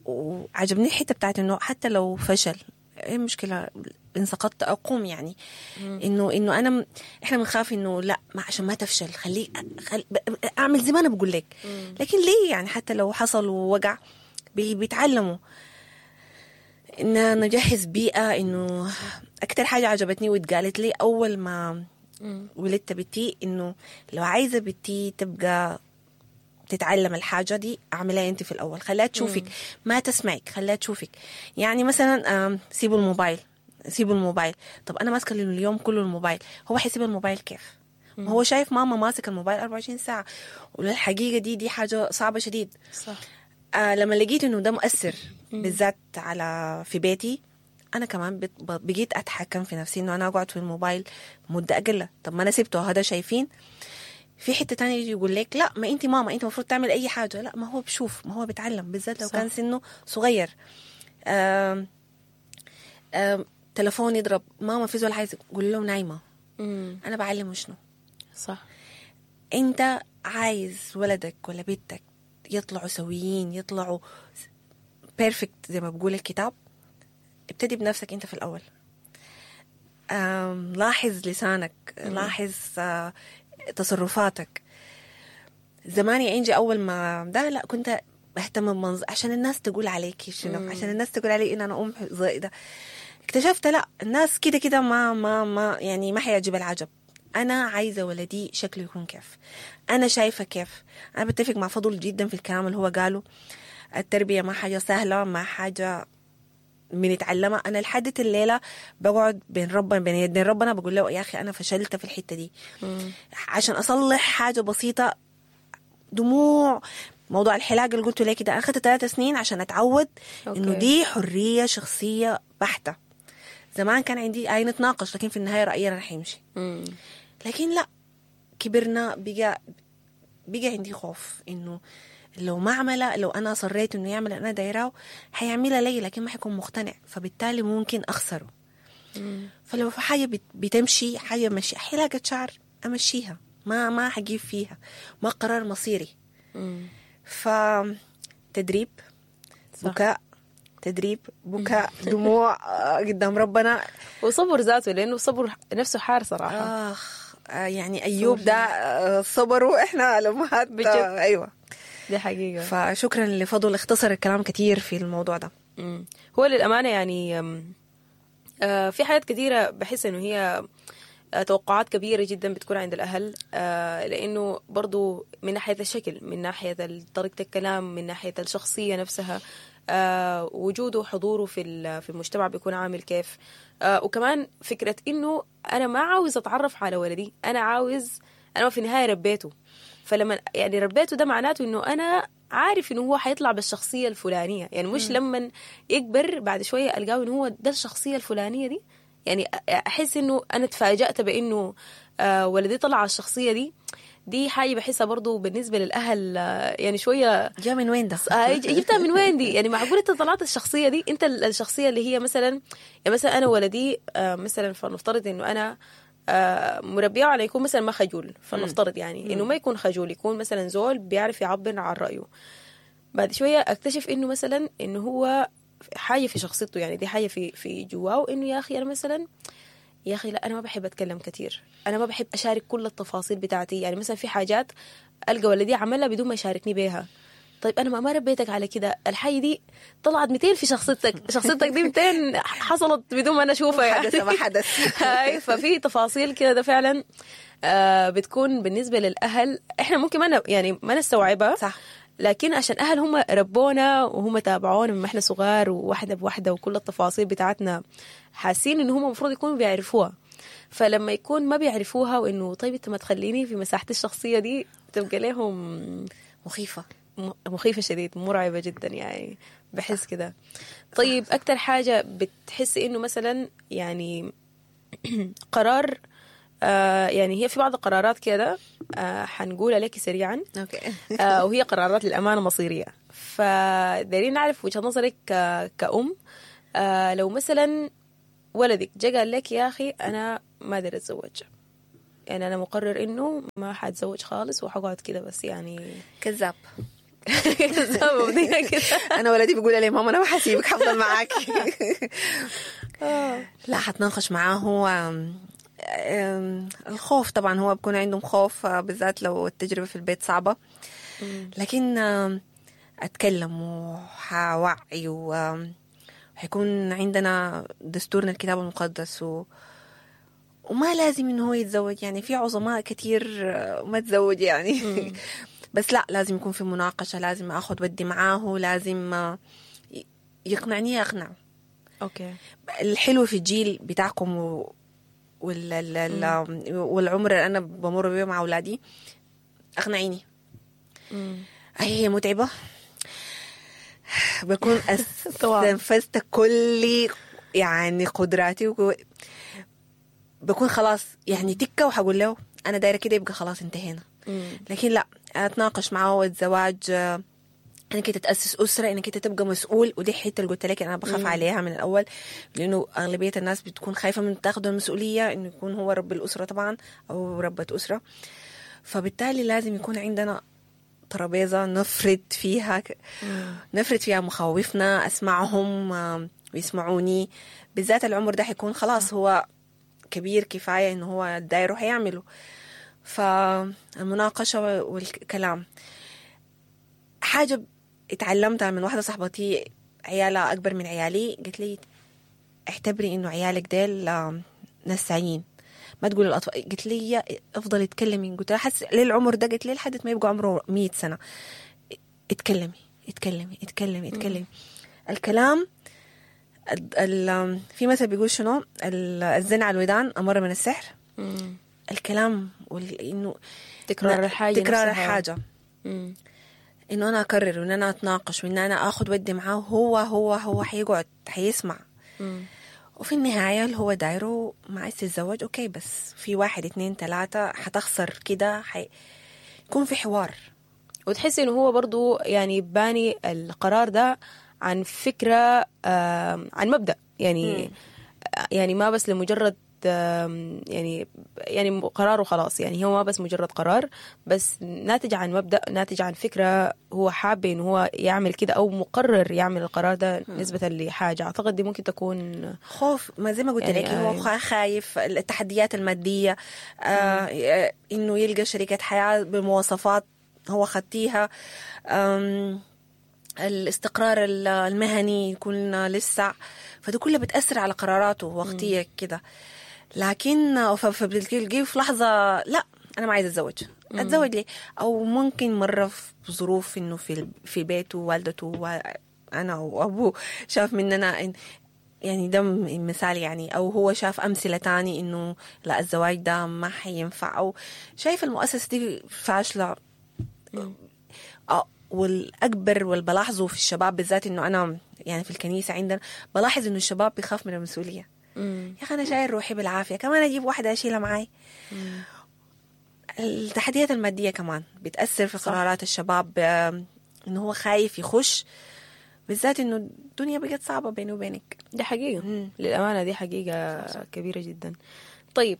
وعجبني الحتة بتاعت انه حتى لو فشل، ايه المشكلة ان سقطت اقوم، يعني انه انه انا م- احنا بنخاف انه لا، ما عشان ما تفشل خليه خل ب- اعمل زي ما انا بقول لك. لكن ليه يعني حتى لو حصل ووقع بي- بيتعلموا. ان نجهز بيئة، انه اكتر حاجة عجبتني واتقالت لي اول ما ولدت بنتي، انه لو عايزه بنتي تبقى تتعلم الحاجة دي اعملها انت في الاول، خليها تشوفك، ما تسمعك، خليها تشوفك. يعني مثلا آم، سيبوا الموبايل، سيبوا الموبايل. طب انا ماسكه اليوم كله الموبايل، هو حيسيب الموبايل كيف؟ ما هو شايف ماما ماسك الموبايل أربعة وعشرين ساعه. وللحقيقه دي دي حاجة صعبة شديد. صح. آه لما لقيت انه ده مؤثر بالذات على في بيتي، انا كمان بت- بقيت اتحكم في نفسي انه انا اقعد في الموبايل مده اقل. طب ما انا سبته، هذا شايفين. في حتة تانية يجي يقول لك لا، ما انت ماما، انت المفروض تعمل اي حاجه. لا، ما هو بشوف، ما هو بيتعلم، بالذات لو صح. كان سنة صغير. آم آم تلفون يضرب، ماما في زول عايز، قول له نايمه. مم. انا بعلمه شنو؟ صح. انت عايز ولدك ولا بنتك يطلعوا سويين، يطلعوا perfect زي ما بقول الكتاب، ابتدي بنفسك انت في الاول. آم، لاحظ لسانك، لاحظ آه، تصرفاتك. زمان يا انجي اول ما ده، لا، كنت بهتم بمنظر عشان الناس تقول عليكي شنو، عشان الناس تقول علي ان انا ام زي ده. اكتشفت لا، الناس كده كده ما ما ما يعني ما حيعجب العجب. انا عايزه ولدي شكله يكون كيف، انا شايفه كيف. انا بتفق مع فضل جدا في الكلام اللي هو قاله. التربية ما حاجة سهله، ما حاجة بنتعلمها. انا لحد الليلة بقعد بين ربنا، بين يدين ربنا، بقول له يا اخي انا فشلت في الحتة دي عشان اصلح حاجة بسيطه. دموع. موضوع الحلاقة اللي قلته لك ده، اخذت ثلاث سنين عشان اتعود انه okay. دي حرية شخصية بحته. زمان كان عندي اي نتناقش، لكن في النهاية رايي انا رح يمشي. مم. لكن لا، كبرنا، بقى بقى عندي خوف انه لو ما عملها، لو انا اصريت انه يعمل انا دايراه، حيعملها لي لكن ما حيكون مقتنع، فبالتالي ممكن اخسره. فلو في حاجة بت- بتمشي، حاجة مشي، حلاقه شعر امشيها، ما ما حجيب فيها، ما قرار مصيري. مم. فتدريب، صح. بكاء، تدريب، بكاء، دموع آه، قدام ربنا. وصبر ذاته، لانه الصبر نفسه حار صراحة. اخ، آه، يعني ايوب ده آه، صبروا احنا الامهات. بجد. آه، ايوه. دي حقيقة. فشكرا لفضل، اختصر الكلام كثير في الموضوع ده. مم. هو للأمانة يعني أم، آه، في حاجات كثيرة بحس إنه هي آه، توقعات كبيرة جدا بتكون عند الأهل، آه، لأنه برضو من ناحية الشكل، من ناحية ال- طريقة الكلام، من ناحية الشخصية نفسها، آه، وجوده وحضوره في ال- في المجتمع بيكون عامل كيف، آه، وكمان فكرة إنه أنا ما عاوز أتعرف على ولدي، أنا عاوز، أنا في النهاية ربيته، فلما يعني ربيته ده معناته إنه أنا عارف إنه هو حيطلع بالشخصية الفلانية، يعني مش لما يكبر بعد شوية ألقاه إنه هو ده الشخصية الفلانية دي. يعني أحس إنه أنا تفاجأت بإنه آه، ولدي طلع على الشخصية دي. دي حاجة بحسها برضو بالنسبة للأهل آه، يعني شوية جا من وين ده؟ آه، جبتها من وين دي؟ يعني معقول انت طلعت الشخصية دي؟ انت ال- الشخصية اللي هي مثلا، يعني مثلا انا ولدي آه، مثلا فلنفترض انه انا آه، مربيه على يكون مثلا ما خجول، فلنفترض يعني انه ما يكون خجول، يكون مثلا زول بيعرف يعبر عن رايه. بعد شوية اكتشف انه مثلا انه هو حاجة في شخصيته، يعني دي حاجة في في جواه، انه يا اخي انا مثلا، يا اخي لا، انا ما بحب اتكلم كثير، انا ما بحب اشارك كل التفاصيل بتاعتي. يعني مثلا في حاجات القى ولدي عملها بدون ما يشاركني بيها. طيب انا ما ما ربيتك على كده، الحاجة دي طلعت ميتين في شخصيتك، شخصيتك دي ميتين حصلت بدون ما انا اشوفها يعني. حدث ما حدث. هاي، ففي تفاصيل كده ده فعلا آه بتكون بالنسبة للاهل احنا ممكن ما ن- يعني ما نستوعبها. صح. لكن عشان اهل هم ربونا وهم تابعونا من ما احنا صغار، وواحدة بواحدة وكل التفاصيل بتاعتنا، حاسين ان هم المفروض يكونوا بيعرفوها. فلما يكون ما بيعرفوها وانه طيب انت ما تخليني في مساحتي الشخصية دي، تبقى لهم مخيفة، مخيفة شديد، مرعبة جدا يعني، بحس كده. طيب اكتر حاجة بتحسي انه مثلا يعني قرار، آه يعني هي في بعض القرارات كده آه حنقولها لك سريعا. okay. آه وهي قرارات للأمانة مصيرية، فدايرين نعرف وجهة نظرك كأم. آه لو مثلا ولدك جا قال لك يا أخي أنا ما أقدر أتزوج، يعني أنا مقرر إنه ما حأتزوج خالص وحقعد كده بس، يعني كذاب. كذاب كده. أنا ولدي بيقول لي ماما أنا ما حسيبك، حفضل معاك. لا، حتناقش معاه. هو الخوف طبعا، هو بيكون عندهم خوف بالذات لو التجربة في البيت صعبة، لكن أتكلم وحوعي، وحيكون عندنا دستورنا الكتاب المقدس، و وما لازم إنه هو يتزوج، يعني في عظماء كتير ما تزوج يعني. بس لا، لازم يكون في مناقشة، لازم أخذ ودي معاه، لازم يقنعني أقنعه. okay. الحلو في الجيل بتاعكم و... وال... ال... والعمر اللي أنا بمر بيه مع أولادي، أقنعيني. هي متعبة، بكون استنفذت كل يعني قدراتي، وكو... بكون خلاص يعني تكة، وحقول له أنا دايرة كده، يبقى خلاص انتهينا. لكن لا، أتناقش معه الزواج، انك انت تاسس اسره، انك انت تبقى مسؤول، ودي الحتة اللي قلت لك انا بخاف مم. عليها من الاول، لانه اغلبية الناس بتكون خايفة من تاخذ المسؤولية، انه يكون هو رب الاسرة طبعا او ربة اسره. فبالتالي لازم يكون عندنا ترابيزة نفرد فيها مم. نفرد فيها مخاوفنا، اسمعهم ويسمعوني، بالذات العمر ده حيكون خلاص هو كبير كفاية انه هو دايرة حيعمله. فالمناقشه والكلام حاجة اتعلمتها من واحدة صاحبتي عيالها أكبر من عيالي، قالت لي اعتبري إنه عيالك ديل نسايين، ما تقول الأطفال. قلت لي افضل اتكلمي، قلت لها حس للعمر ده، قلت لي لحد ما يبقى عمره مية سنة اتكلمي اتكلمي اتكلمي اتكلمي. الكلام ال ال في مثل بيقول شنو، الزن على الودان أمر من السحر. مم. الكلام وإنه تكرار الحاجة، تكرار الحاجة، انه انا اكرر وان انا اتناقش وان انا اخذ ودي معاه، هو هو هو حيقعد حيسمع. مم. وفي النهاية اللي هو دايرة ما عايز تتزوج okay، بس في واحد اتنين تلاتة حتخسر كده، حي... يكون في حوار. وتحس انه هو برضو يعني باني القرار ده عن فكرة، آه عن مبدأ يعني. مم. يعني ما بس لمجرد يعني يعني قرار وخلاص، يعني هو ما بس مجرد قرار، بس ناتج عن مبدأ، ناتج عن فكرة هو حابب إنه هو يعمل كده أو مقرر يعمل القرار ده نسبة لحاجة. أعتقد دي ممكن تكون خوف، ما زي ما قلت يعني لك هو خايف التحديات المادية، آه إنه يلقى شريكة حياة بمواصفات هو خدتيها، الاستقرار المهني يكون لسه، فده كله بتأثر على قراراته وقتية كده. لكن فبتلقيه في لحظة لا أنا ما عايزة أتزوج، أتزوج ليه؟ أو ممكن مرة في ظروف إنه في في بيته والدته وأنا وأبوه شاف مننا يعني ده مثال يعني، أو هو شاف أمثلة تاني إنه لا الزواج ده ما حينفع، أو شايف المؤسسة دي فاشلة. والأكبر والبلاحظه في الشباب بالذات إنه أنا يعني في الكنيسة عندنا بلاحظ إنه الشباب بيخاف من المسؤولية. مم. يا أخي أنا شايل روحي بالعافية، كمان أجيب واحدة أشيلها معاي. مم. التحديات المادية كمان بتأثر في قرارات الشباب، إنه هو خايف يخش، بالذات إنه الدنيا بقت صعبة بيني وبينك. دي حقيقة. مم. للأمانة دي حقيقة صح. كبيرة جدا. طيب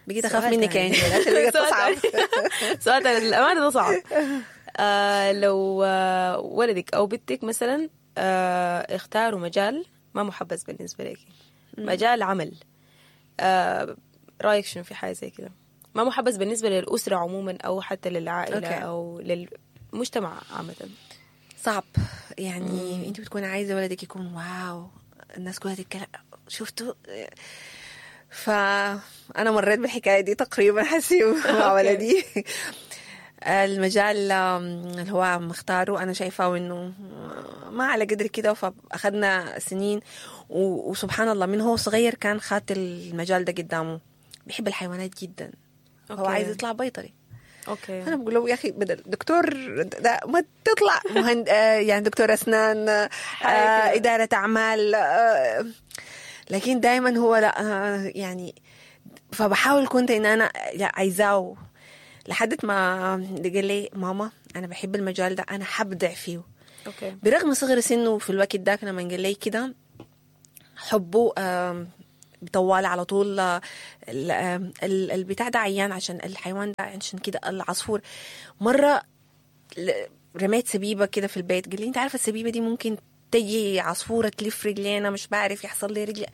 بقيت أخاف منك يعني عشان بقت صعب. سؤال تاني للأمانة ده صعب. آه لو آه ولدك أو بنتك مثلا آه اختاروا مجال ما محبذ بالنسبة لك، مجال عمل، آه رأيك شنو في حاجة زي كده؟ ما محبذ بالنسبة للأسرة عموما أو حتى للعائلة okay. أو للمجتمع عامة. صعب يعني. أنت بتكون عايزة ولدك يكون wow، الناس كلها تتكلم شفتوا. فأنا مريت بالحكاية دي تقريبا حسيب مع ولدي. المجال اللي هو مختاره انا شايفاه انه ما على قدر كده، فاخذنا سنين. وسبحان الله من هو صغير كان خات المجال ده قدامه، بيحب الحيوانات جدا. okay. هو عايز يطلع بيطري. okay. انا بقول له يا اخي بدل دكتور ده ما تطلع مهند، يعني دكتور اسنان، آه، ادارة اعمال، آه، لكن دائما هو لا، يعني فبحاول كنت ان انا عايزاه لحد ما قال لي ماما انا بحب المجال ده، انا حبدع فيه. okay. برغم صغر سنة في الوقت ده لما قال لي كده حبه بطوال على طول البتاع ده عيان عشان الحيوان ده، عشان كده العصفور. مرة رميت سبيبة كده في البيت، قال لي انت عارفة السبيبة دي ممكن تجي عصفورة تلف رجلينا، مش بعرف يحصل لي رجلي،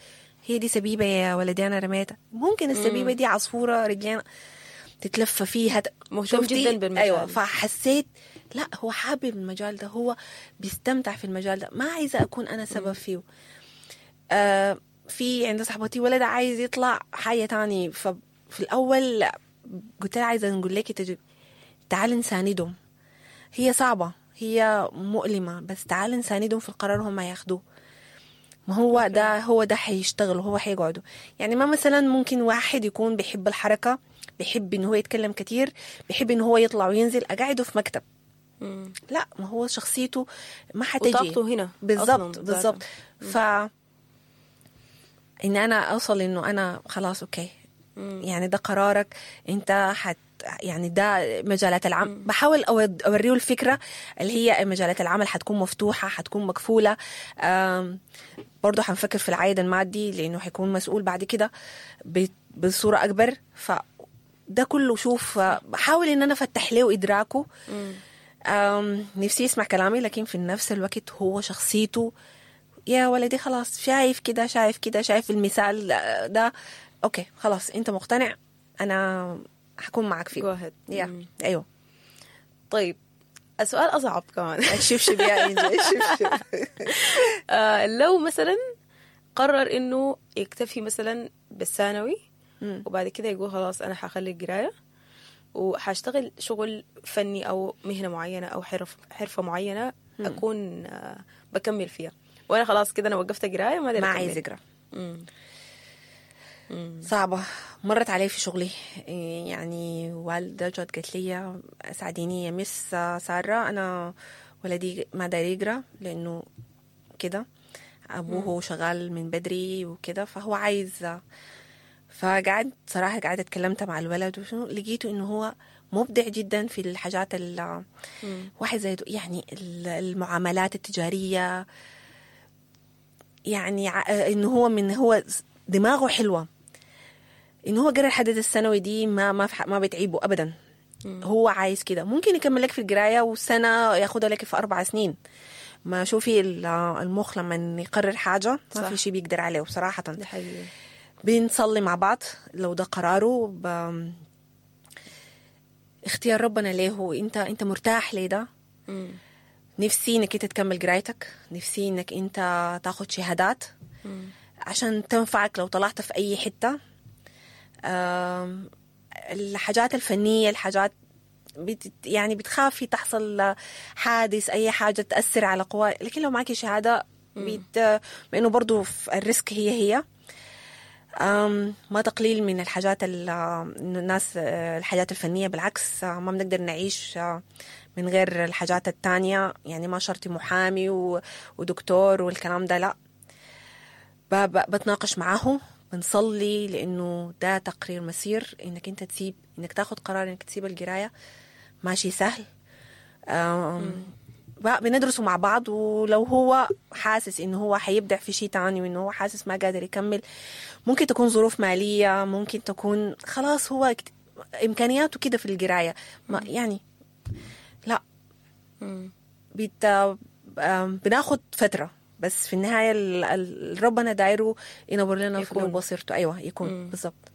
هي دي سبيبة يا ولدي أنا رميتها، ممكن السبيبة دي عصفورة رجلينا تتلف فيها. مهتم جدا بالمجال. أيوة. فحسيت لا هو حابب المجال ده، هو بيستمتع في المجال ده، ما عايزة أكون أنا سبب فيه. آه في عند صاحبتي ولد عايز يطلع حاجة تاني، ففي الأول قلت لها عايزة نقول لك تجربة، تعال نساندهم، هي صعبة هي مؤلمة، بس تعال نساندهم في القرار هم ياخدوه. ما هو ده هو ده حيشتغل وهو حيقعدوا. يعني ما مثلا ممكن واحد يكون بيحب الحركة، بيحب إن هو يتكلم كتير، بيحب إن هو يطلع وينزل، أقعده في مكتب. مم. لا، ما هو شخصيته ما حتجي وطاقته هنا بالضبط بالضبط. ف إن أنا أوصل إنه أنا خلاص okay. مم. يعني ده قرارك أنت، حت يعني ده مجالات العمل. بحاول أوريه الفكرة اللي هي مجالات العمل حتكون مفتوحة، حتكون مكفولة. برضو حنفكر في العائد المادي لأنه حيكون مسؤول بعد كده بصورة أكبر. فده كله شوف، بحاول إن أنا أفتح له إدراكه. نفسي يسمع كلامي، لكن في نفس الوقت هو شخصيته يا ولدي خلاص شايف كده شايف كده شايف المثال ده، okay خلاص أنت مقتنع، أنا حكون معك فيه. yeah. أيوه. طيب السؤال أصعب كمان. الشبشب يا إنجي، الشبشب. آه لو مثلا قرر إنه يكتفي مثلا بالثانوي وبعد كده يقول خلاص أنا حخلي القراية وحاشتغل شغل فني أو مهنة معينة أو حرف حرفة معينة أكون آه بكمل فيها، وأنا خلاص كده أنا وقفت قراية ما ما عايز أقرأ. صعبة مرت علي في شغلي. يعني والدة جت قالت لي ساعديني يا مس سارة، أنا ولدي ما داير يقرأ لأنه كده أبوه شغال من بدري وكده، فهو عايز. فقعد صراحة قعدت اتكلمت مع الولد وشنو، لقيته إنه هو مبدع جدا في الحاجات ال واحد زي يعني المعاملات التجارية، يعني إنه هو من هو دماغه حلوة، إنه هو قرر حدد الثانوي دي ما ما ما بتعيبه أبدا. مم. هو عايز كده، ممكن يكمل لك في القراية وسنة ياخدها لك في أربع سنين. ما شوفي المخ لما يقرر حاجة ما في شيء بيقدر عليه بصراحة. ده حقيقي. بنصلي مع بعض لو ده قراره، ب... اختيار ربنا ليه، انت انت مرتاح ليه ده. مم. نفسي انك انت تكمل قرايتك، نفسي انك انت تاخد شهادات. مم. عشان تنفعك لو طلعت في أي حتة. الحاجات الفنية، الحاجات بت يعني بتخافي تحصل حادث، أي حاجة تأثر على قوى، لكن لو معك شهادة بت... بأنه برضو في ال risk هي هي ما تقليل من الحاجات ال... الناس الحاجات الفنية، بالعكس ما بنقدر نعيش من غير الحاجات التانية. يعني ما شرط محامي و... ودكتور والكلام ده، لا. بتناقش معاه، بنصلي، لأنه ده تقرير مسير إنك أنت تسيب، إنك تاخد قرار إنك تسيب القراية ماشي سهل. بندرسه مع بعض، ولو هو حاسس إنه هو حيبدع في شيء تاني وإنه هو حاسس ما قادر يكمل، ممكن تكون ظروف مالية، ممكن تكون خلاص هو إمكانياته كده في القراية ما يعني لا. بيت بناخد فترة، بس في النهاية ربنا دايرة ينور لنا في بصيرته. أيوة يكون بالضبط.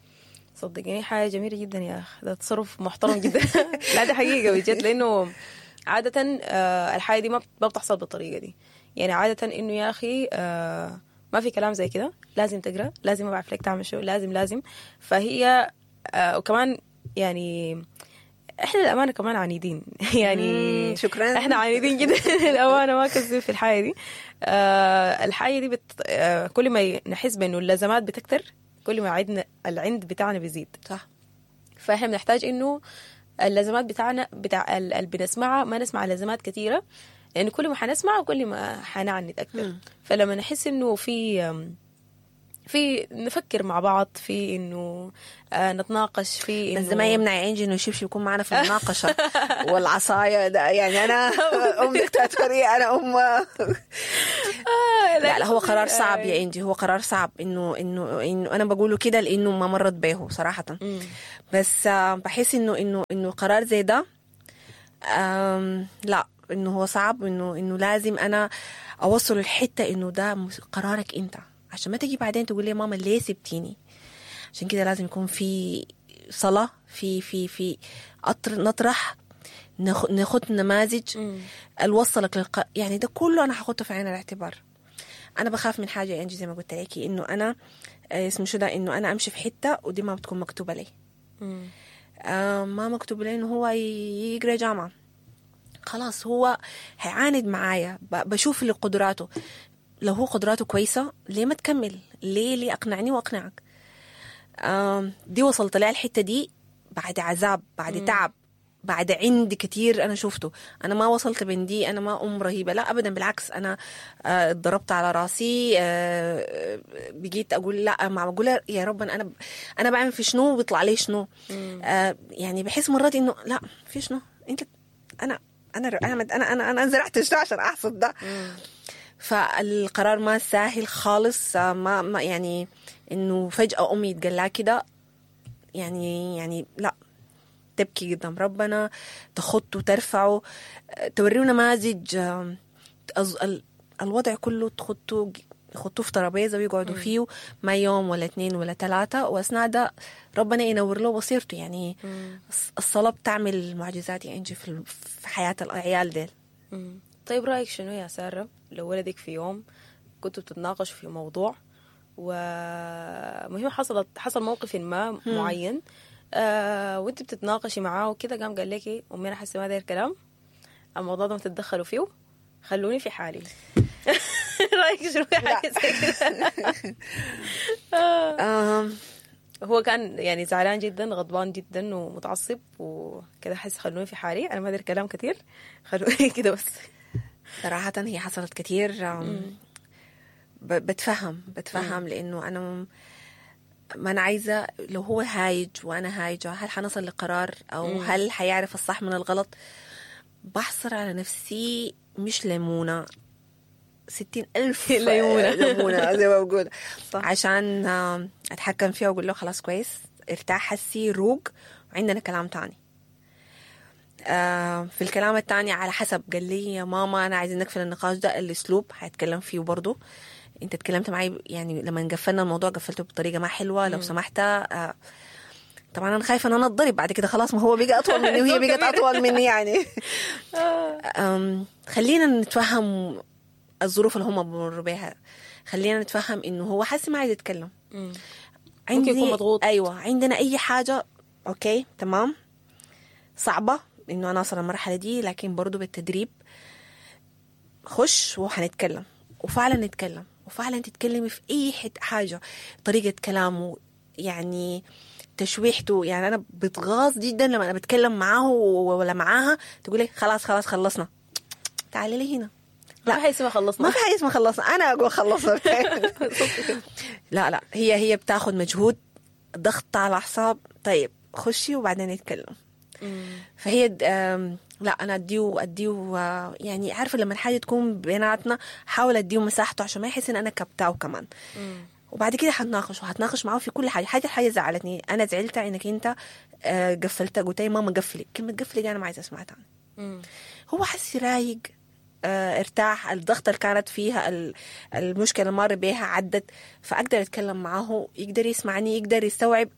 صدقيني حاجة جميلة جدا يا أخ، ده تصرف محترم جدا. لا ده حقيقة بجد، لأنه عادة الحاجة دي ما بتحصل بالطريقة دي. يعني عادة إنه يا أخي ما في كلام زي كده، لازم تقرأ، لازم ما بعرف لك تعمل شو، لازم لازم. فهي وكمان يعني احنا الامانة كمان عنيدين يعني. مم، شكراً. احنا عنيدين جدا الامانة، ما كذب في الحاجة دي. آه الحاجة دي بت... آه كل ما نحس بانه اللزمات بتكتر، كل ما عندنا العند بتاعنا بيزيد. صح. فاحنا بنحتاج انه اللزمات بتاعنا بتاع اللي بنسمعها ما نسمع لزمات كثيرة، لان كل ما حنسمع وكل ما حنعند اكثر. فلما نحس انه في في نفكر مع بعض، في انه آه نتناقش، في انه بس ده ما يمنع يا انجي انه الشبشب يكون معنا في المناقشة والعصايه ده، يعني انا ام دكتاتوريه، انا ام آه لا لا هو قرار صعب يا انجي، هو قرار صعب انه انه انه انا بقوله كده لانه ما مرت به صراحة. بس آه، بحس انه انه انه قرار زي ده آم، لا انه هو صعب، انه انه لازم انا اوصل الحتة انه ده مس- قرارك انت، عشان ما تجي بعدين تقول لي ماما ليه سبتيني. عشان كده لازم يكون في صلاة، في في في أطر نطرح، ناخ- ناخد نماذج الوصلك للق... يعني ده كله انا هاخده في عين الاعتبار. انا بخاف من حاجة يا انجي زي ما قلت لك، انه انا آه، اسمه شو ده، انه انا امشي في حتة ودي ما بتكون مكتوبة لي. مم. آه، ما مكتوب لي انه هو ي- يقرا جامعه، خلاص هو هيعاند معايا، ب- بشوف اللي قدراته، لو هو قدراته كويسة ليه ما تكمل، ليه ليه اقنعني واقنعك. آم، دي وصلت لها الحتة دي بعد عذاب، بعد تعب، بعد عند كتير انا شفته. انا ما وصلت بين دي، انا ما ام رهيبة، لا ابدا، بالعكس انا آه، اتضربت على راسي، آه، بقيت اقول لا، معقولة يا رب انا انا بعمل في شنو بيطلع لي شنو. آه، يعني بحس مرات انه لا في شنو انت، انا انا انا انا انا, أنا زرعت شنو عشان احصد ده. فالقرار ما سهل خالص، آه، ما ما يعني انه فجأة امي يتقلع كده، يعني يعني لا تبكي قدام ربنا، تخط وترفعه، آه، توريه نماذج، آه، أز- ال- الوضع كله تخطه، يحطوه في ترابيزة ويقعدوا فيه ما يوم ولا اتنين ولا ثلاثة، واثناء ده ربنا ينور له بصيرته. يعني الص- الصلاة بتعمل معجزات يا انجي في ال- في حياة العيال ديل. مم. طيب رأيك شنو يا سارة لو ولدك في يوم كنتوا بتتناقشوا في موضوع ومهم حصلت حصل موقف ما معين، آه وانت بتتناقشي معاه وكده، قام قال لك امي انا حاسه ما داير كلام، الموضوع ده ما تتدخلوا فيه، خلوني في حالي. رايك شنو في حاجة زي كده؟ آم، هو كان يعني زعلان جدا، غضبان جدا ومتعصب وكده، حس خلوني في حالي، انا ما داير كلام كتير، خلوني كده بس. صراحة هي حصلت كتير. آم، ب- بتفهم بتفهم لأنه أنا م- ما أنا عايزة لو هو هايج وأنا هايجة هل حنصل لقرار أو هل حيعرف الصح من الغلط. بحصر على نفسي مش ليمونة، ستين ألف ليمونة. ليمونة زي ما بقول، صح. عشان آم، أتحكم فيها وأقول له خلاص كويس ارتاح، حسي روق، وعندنا كلام تاني. آه، في الكلام التاني على حسب، قال لي يا ماما انا عايزين نقفل النقاش ده، الاسلوب هيتكلم فيه برضه. انت اتكلمت معي يعني لما قفلنا الموضوع قفلته بطريقة ما حلوة، لو سمحت. آه، طبعا انا خايفة ان انا اتضرب بعد كده، خلاص ما هو بقى اطول مني وهي بقت اطول مني يعني. أم، خلينا نتفهم الظروف اللي هم بمروا بيها، خلينا نتفهم انه هو حاسس ما عايز يتكلم، ممكن يكون مضغوط. ايوه عندنا اي حاجة okay تمام، صعبة انه انا اصل المرحلة دي، لكن برضو بالتدريب خش وحنتكلم، وفعلا نتكلم، وفعلا تتكلمي في اي حت حاجة، طريقه كلامه يعني تشويحته. يعني انا بتغاظ جدا لما انا بتكلم معاه ولا معاها تقول لي خلاص خلاص خلصنا، تعالي لي هنا. لا ما في حاجة اسمها خلصنا، ما في حاجة اسمها خلصنا، انا اقول خلصنا. لا لا هي هي بتاخد مجهود، ضغط على الاعصاب. طيب خشي وبعدين نتكلم. فهي د- آم، لا انا اديه اديه آه، يعني عارفه لما الحاجة تكون بيناتنا حاول اديه مساحته عشان ما يحس ان انا كبتاه كمان. وبعد كده هتناقش وهتناقش معاه في كل حاجة. حاجة حاجة زعلتني، انا زعلت انك انت آه، قفلت، قلت لي ماما قفلي، كلمة قفلي دي انا ما عايزه اسمعها تاني. مم. هو حس رايق، آه، ارتاح، الضغط اللي كانت فيها ال- المشكلة اللي مر بيها عدت، فاقدر اتكلم معاه، يقدر يسمعني، يقدر يستوعب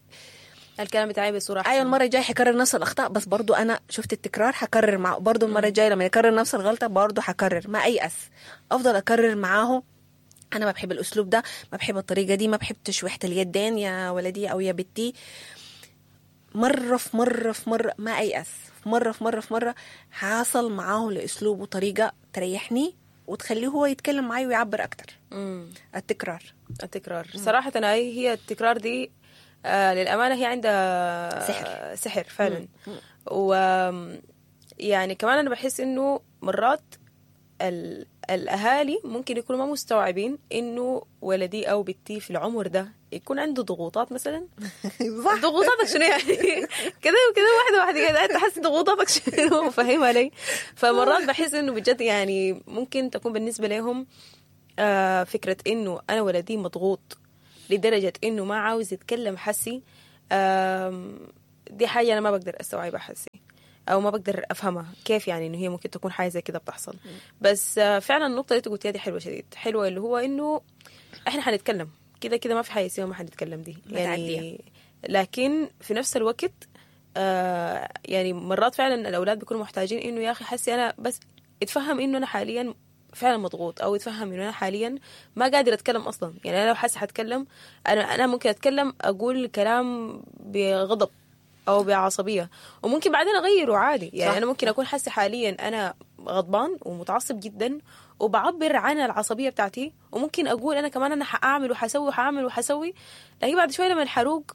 الكلام بتاعي بصورة احسن. ايوه المرة الجاية حكرر نفس الاخطاء، بس برضو انا شفت التكرار حكرر معه برضو المرة الجاية لما يكرر نفس الغلطة برضو حكرر، ما ايأس، افضل اكرر معاه. انا ما بحب الاسلوب ده، ما بحب الطريقة دي، ما بحب تشويحه اليدين يا ولدي او يا بنتي. مرة في مرة في مرة ما ايأس، في مرة في مرة في مرة حاصل معاه لاسلوب وطريقه تريحني وتخليه هو يتكلم معي ويعبر اكتر. مم. التكرار. التكرار صراحة أنا هي التكرار دي آه للأمانة هي عندها سحر. سحر فعلا. و يعني كمان أنا بحس إنه مرات ال... الأهالي ممكن يكونوا ما مستوعبين إنه ولدي أو بنتي في العمر ده يكون عنده ضغوطات مثلا. صح. ضغوطاتك شنو يعني؟ كده وكده واحدة واحدة كده تحس ضغوطاتك شنو، فاهمة علي؟ فمرات بحس إنه بجد يعني ممكن تكون بالنسبة لهم آه فكرة إنه أنا ولدي مضغوط لدرجة إنه ما عاوز يتكلم حسي، آم، دي حاجة أنا ما بقدر أستوعبها حسي أو ما بقدر أفهمها كيف يعني إنه هي ممكن تكون حاجة زي كده بتحصل. بس آه، فعلا النقطة اللي أنت قلتيها دي حلوة شديد، حلوة اللي هو إنه إحنا حنتكلم كده كده، ما في حاجة اسمها ما حنتكلم دي ما يعني. لكن في نفس الوقت آه يعني مرات فعلا الأولاد بيكونوا محتاجين إنه يا أخي حسي أنا بس اتفهم إنه أنا حاليا فعلا مضغوط، او يتفهم انه انا حاليا ما قادر اتكلم اصلا. يعني انا لو حاسه حتكلم انا انا ممكن اتكلم اقول كلام بغضب او بعصبيه، وممكن بعدين اغيره عادي. يعني صح. انا ممكن اكون حاسه حاليا انا غضبان ومتعصب جدا وبعبر عن العصبية بتاعتي، وممكن اقول انا كمان انا حاعمل وحسوي وحاعمل وحسوي، لكن بعد شوية لما الحروق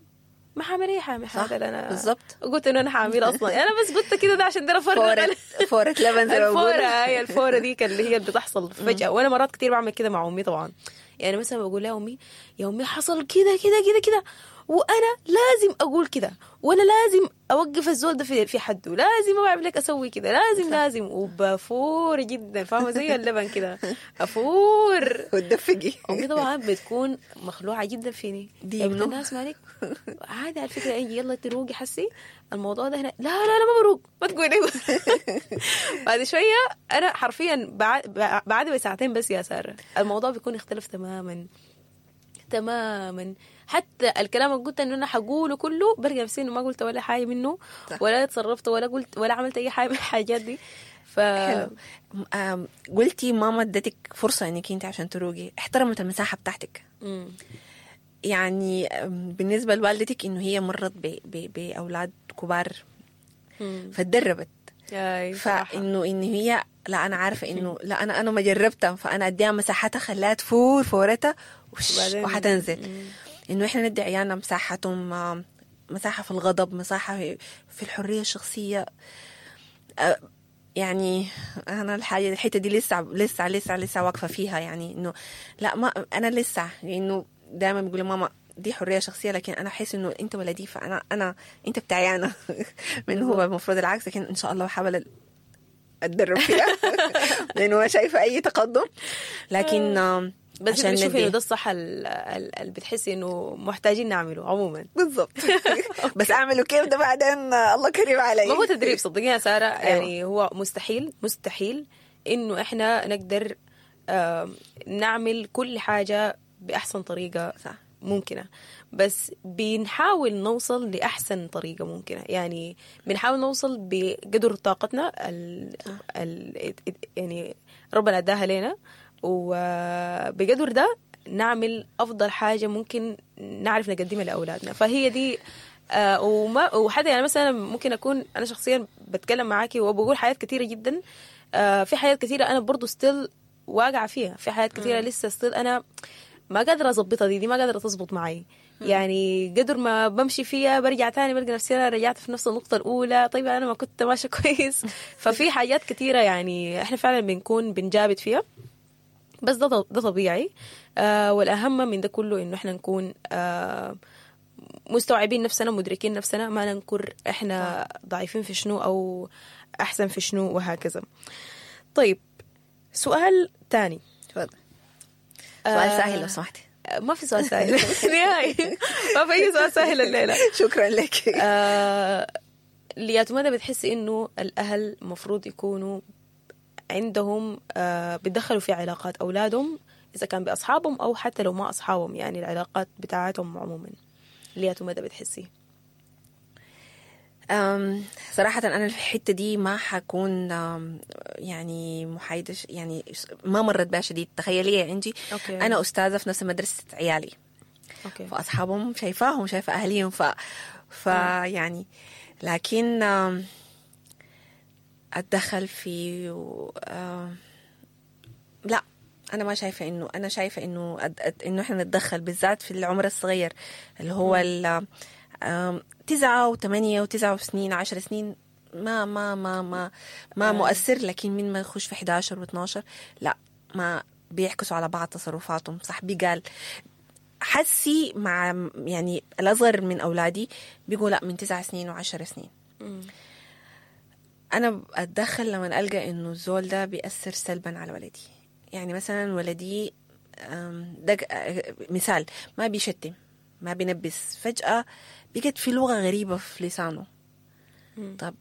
ما حاعمل اي حاجة من صح، الحاجات اللي انا بالظبط. قلت انه انا حاعملها اصلا. يعني انا بس قلت كده ده عشان ده افرغ فورة فورة لبن زي ما الفورة، بيقولوا. هي الفورة دي كان اللي هي اللي بتحصل فجأة. وأنا مرات كتير بعمل كده مع أمي طبعا. يعني مثلا بقول لها أمي يا أمي حصل كده كده كده كده، وأنا لازم أقول كده، وأنا لازم أوقف الزول ده في في حده، لازم أعمل لك أسوي كده، لازم لازم، وبفور جدا، فاهمة زي اللبن كده أفور. وتدفقي. أمي طبعا بتكون مخلوعة جدا فيني. دي يا بنت منو؟ الناس مالك عادي على فكرة، أي يلا تروقي حسي الموضوع ده هنا. لا لا لا ما بروق، ما تقولي. بعد شوية أنا حرفيا بعد بعد بساعتين بس يا سارة الموضوع بيكون اختلف تماما تماما. حتى الكلام اللي قلت انه انا حقوله كله برجع نفسي انه ما قلت ولا حاجة منه، صح. ولا اتصرفت ولا قلت ولا عملت اي حاجة من الحاجات دي. ف حلو. آم، قلتي ماما ادتك فرصة انك انت عشان تروقي، احترمت المساحة بتاعتك. مم. يعني آم، بالنسبة لوالدتك انه هي مرت ب- ب- باولاد كبار مم. فتدربت، أي، صراحة. فانه ان هي لا انا عارفه انه لا انا انا ما جربتها، فانا اديها مساحتها خليها تفور فورتها وش- وبعدين- وحتنزل. انه احنا ندي عيالنا مساحتهم، آم، مساحة في الغضب، مساحة في- في الحرية الشخصية. آه، يعني انا الحاجة الحتة دي لسه لسه لسه لسه واقفة فيها، يعني انه لا ما انا لسه، لانه دائما بيقولوا ماما دي حرية شخصية، لكن انا احس انه انت ولدي، فانا انا انت بتاعي انا من هو المفروض العكس، لكن ان شاء الله بحاول اتدرب فيها لانه ما شايفه اي تقدم. لكن آم، بس عشان بتشوفي انه ندي ده الصح ال- ال- اللي بتحسي انه محتاجين نعمله عموما. بالضبط. بس اعمله كيف ده بعدين آه، الله كريم علي. ما هو تدريب صدقيني يا ساره، يعني هو مستحيل مستحيل انه احنا نقدر آم، نعمل كل حاجة باحسن طريقه صح. ممكنة، بس بنحاول نوصل لاحسن طريقه ممكنة. يعني بنحاول نوصل بقدر طاقتنا ال ال يعني ربنا اداها لنا، وبقدر ده نعمل افضل حاجة ممكن نعرف نقدمها لاولادنا. فهي دي آه وما وحتى يعني مثلا ممكن اكون انا شخصيا بتكلم معاكي وبقول حاجات كثيرة جدا، آه في حاجات كثيرة انا برضو still واقعه فيها، في حاجات كثيرة لسه still انا ما قادرة اظبطها، دي دي ما قادرة تظبط معي. يعني قدر ما بمشي فيها برجع تاني بلقى نفسي انا رجعت في نفس النقطة الاولى. طيب انا ما كنت ماشية كويس. ففي حاجات كثيرة يعني احنا فعلا بنكون بنجابد فيها، بس ده ده طبيعي. آه والاهم من ده كله انه احنا نكون آه مستوعبين نفسنا، مدركين نفسنا، ما ننكر احنا ضعيفين في شنو او احسن في شنو وهكذا. طيب سؤال تاني. تفضل. سؤال سهل لو سمحتي. ما في سؤال سهل نهائي، ما في اي سؤال سهل الليلة. شكرا لك. آه لياتو ماذا بتحسي انه الاهل المفروض يكونوا عندهم آه بيتدخلوا في علاقات اولادهم، اذا كان باصحابهم او حتى لو ما اصحابهم، يعني العلاقات بتاعتهم عموما؟ لياتو ماذا بتحسي؟ أم صراحة أنا في الحتة دي ما حكون يعني محايدة، يعني ما مرت بها شديد. تخيلي يا إنجي، okay. أنا أستاذة في نفس مدرسة عيالي. okay. فأصحابهم شايفاهم، شايفة أهليهم، ف فيعني لكن آم، اتدخل في و... آم، لا انا ما شايفه انه انا شايفه انه أد... أد... انه احنا نتدخل بالذات في العمر الصغير اللي هو ال آم، تسعة وثمانية وتسعة سنين عشر سنين ما ما ما ما ما مؤثر، لكن من ما يخش في حداشر واتناشر لا ما بيعكسوا على بعض تصرفاتهم. صاحبي قال حسي مع يعني الأصغر من أولادي بيقول لا من تسع سنين وعشر سنين. أنا أتدخل لما ألقى إنه الزول ده بيأثر سلبا على ولدي. يعني مثلا ولدي أم، ده مثال ما بيشتم ما بينبس، فجأة بقت في لغة غريبة في لسانه. طب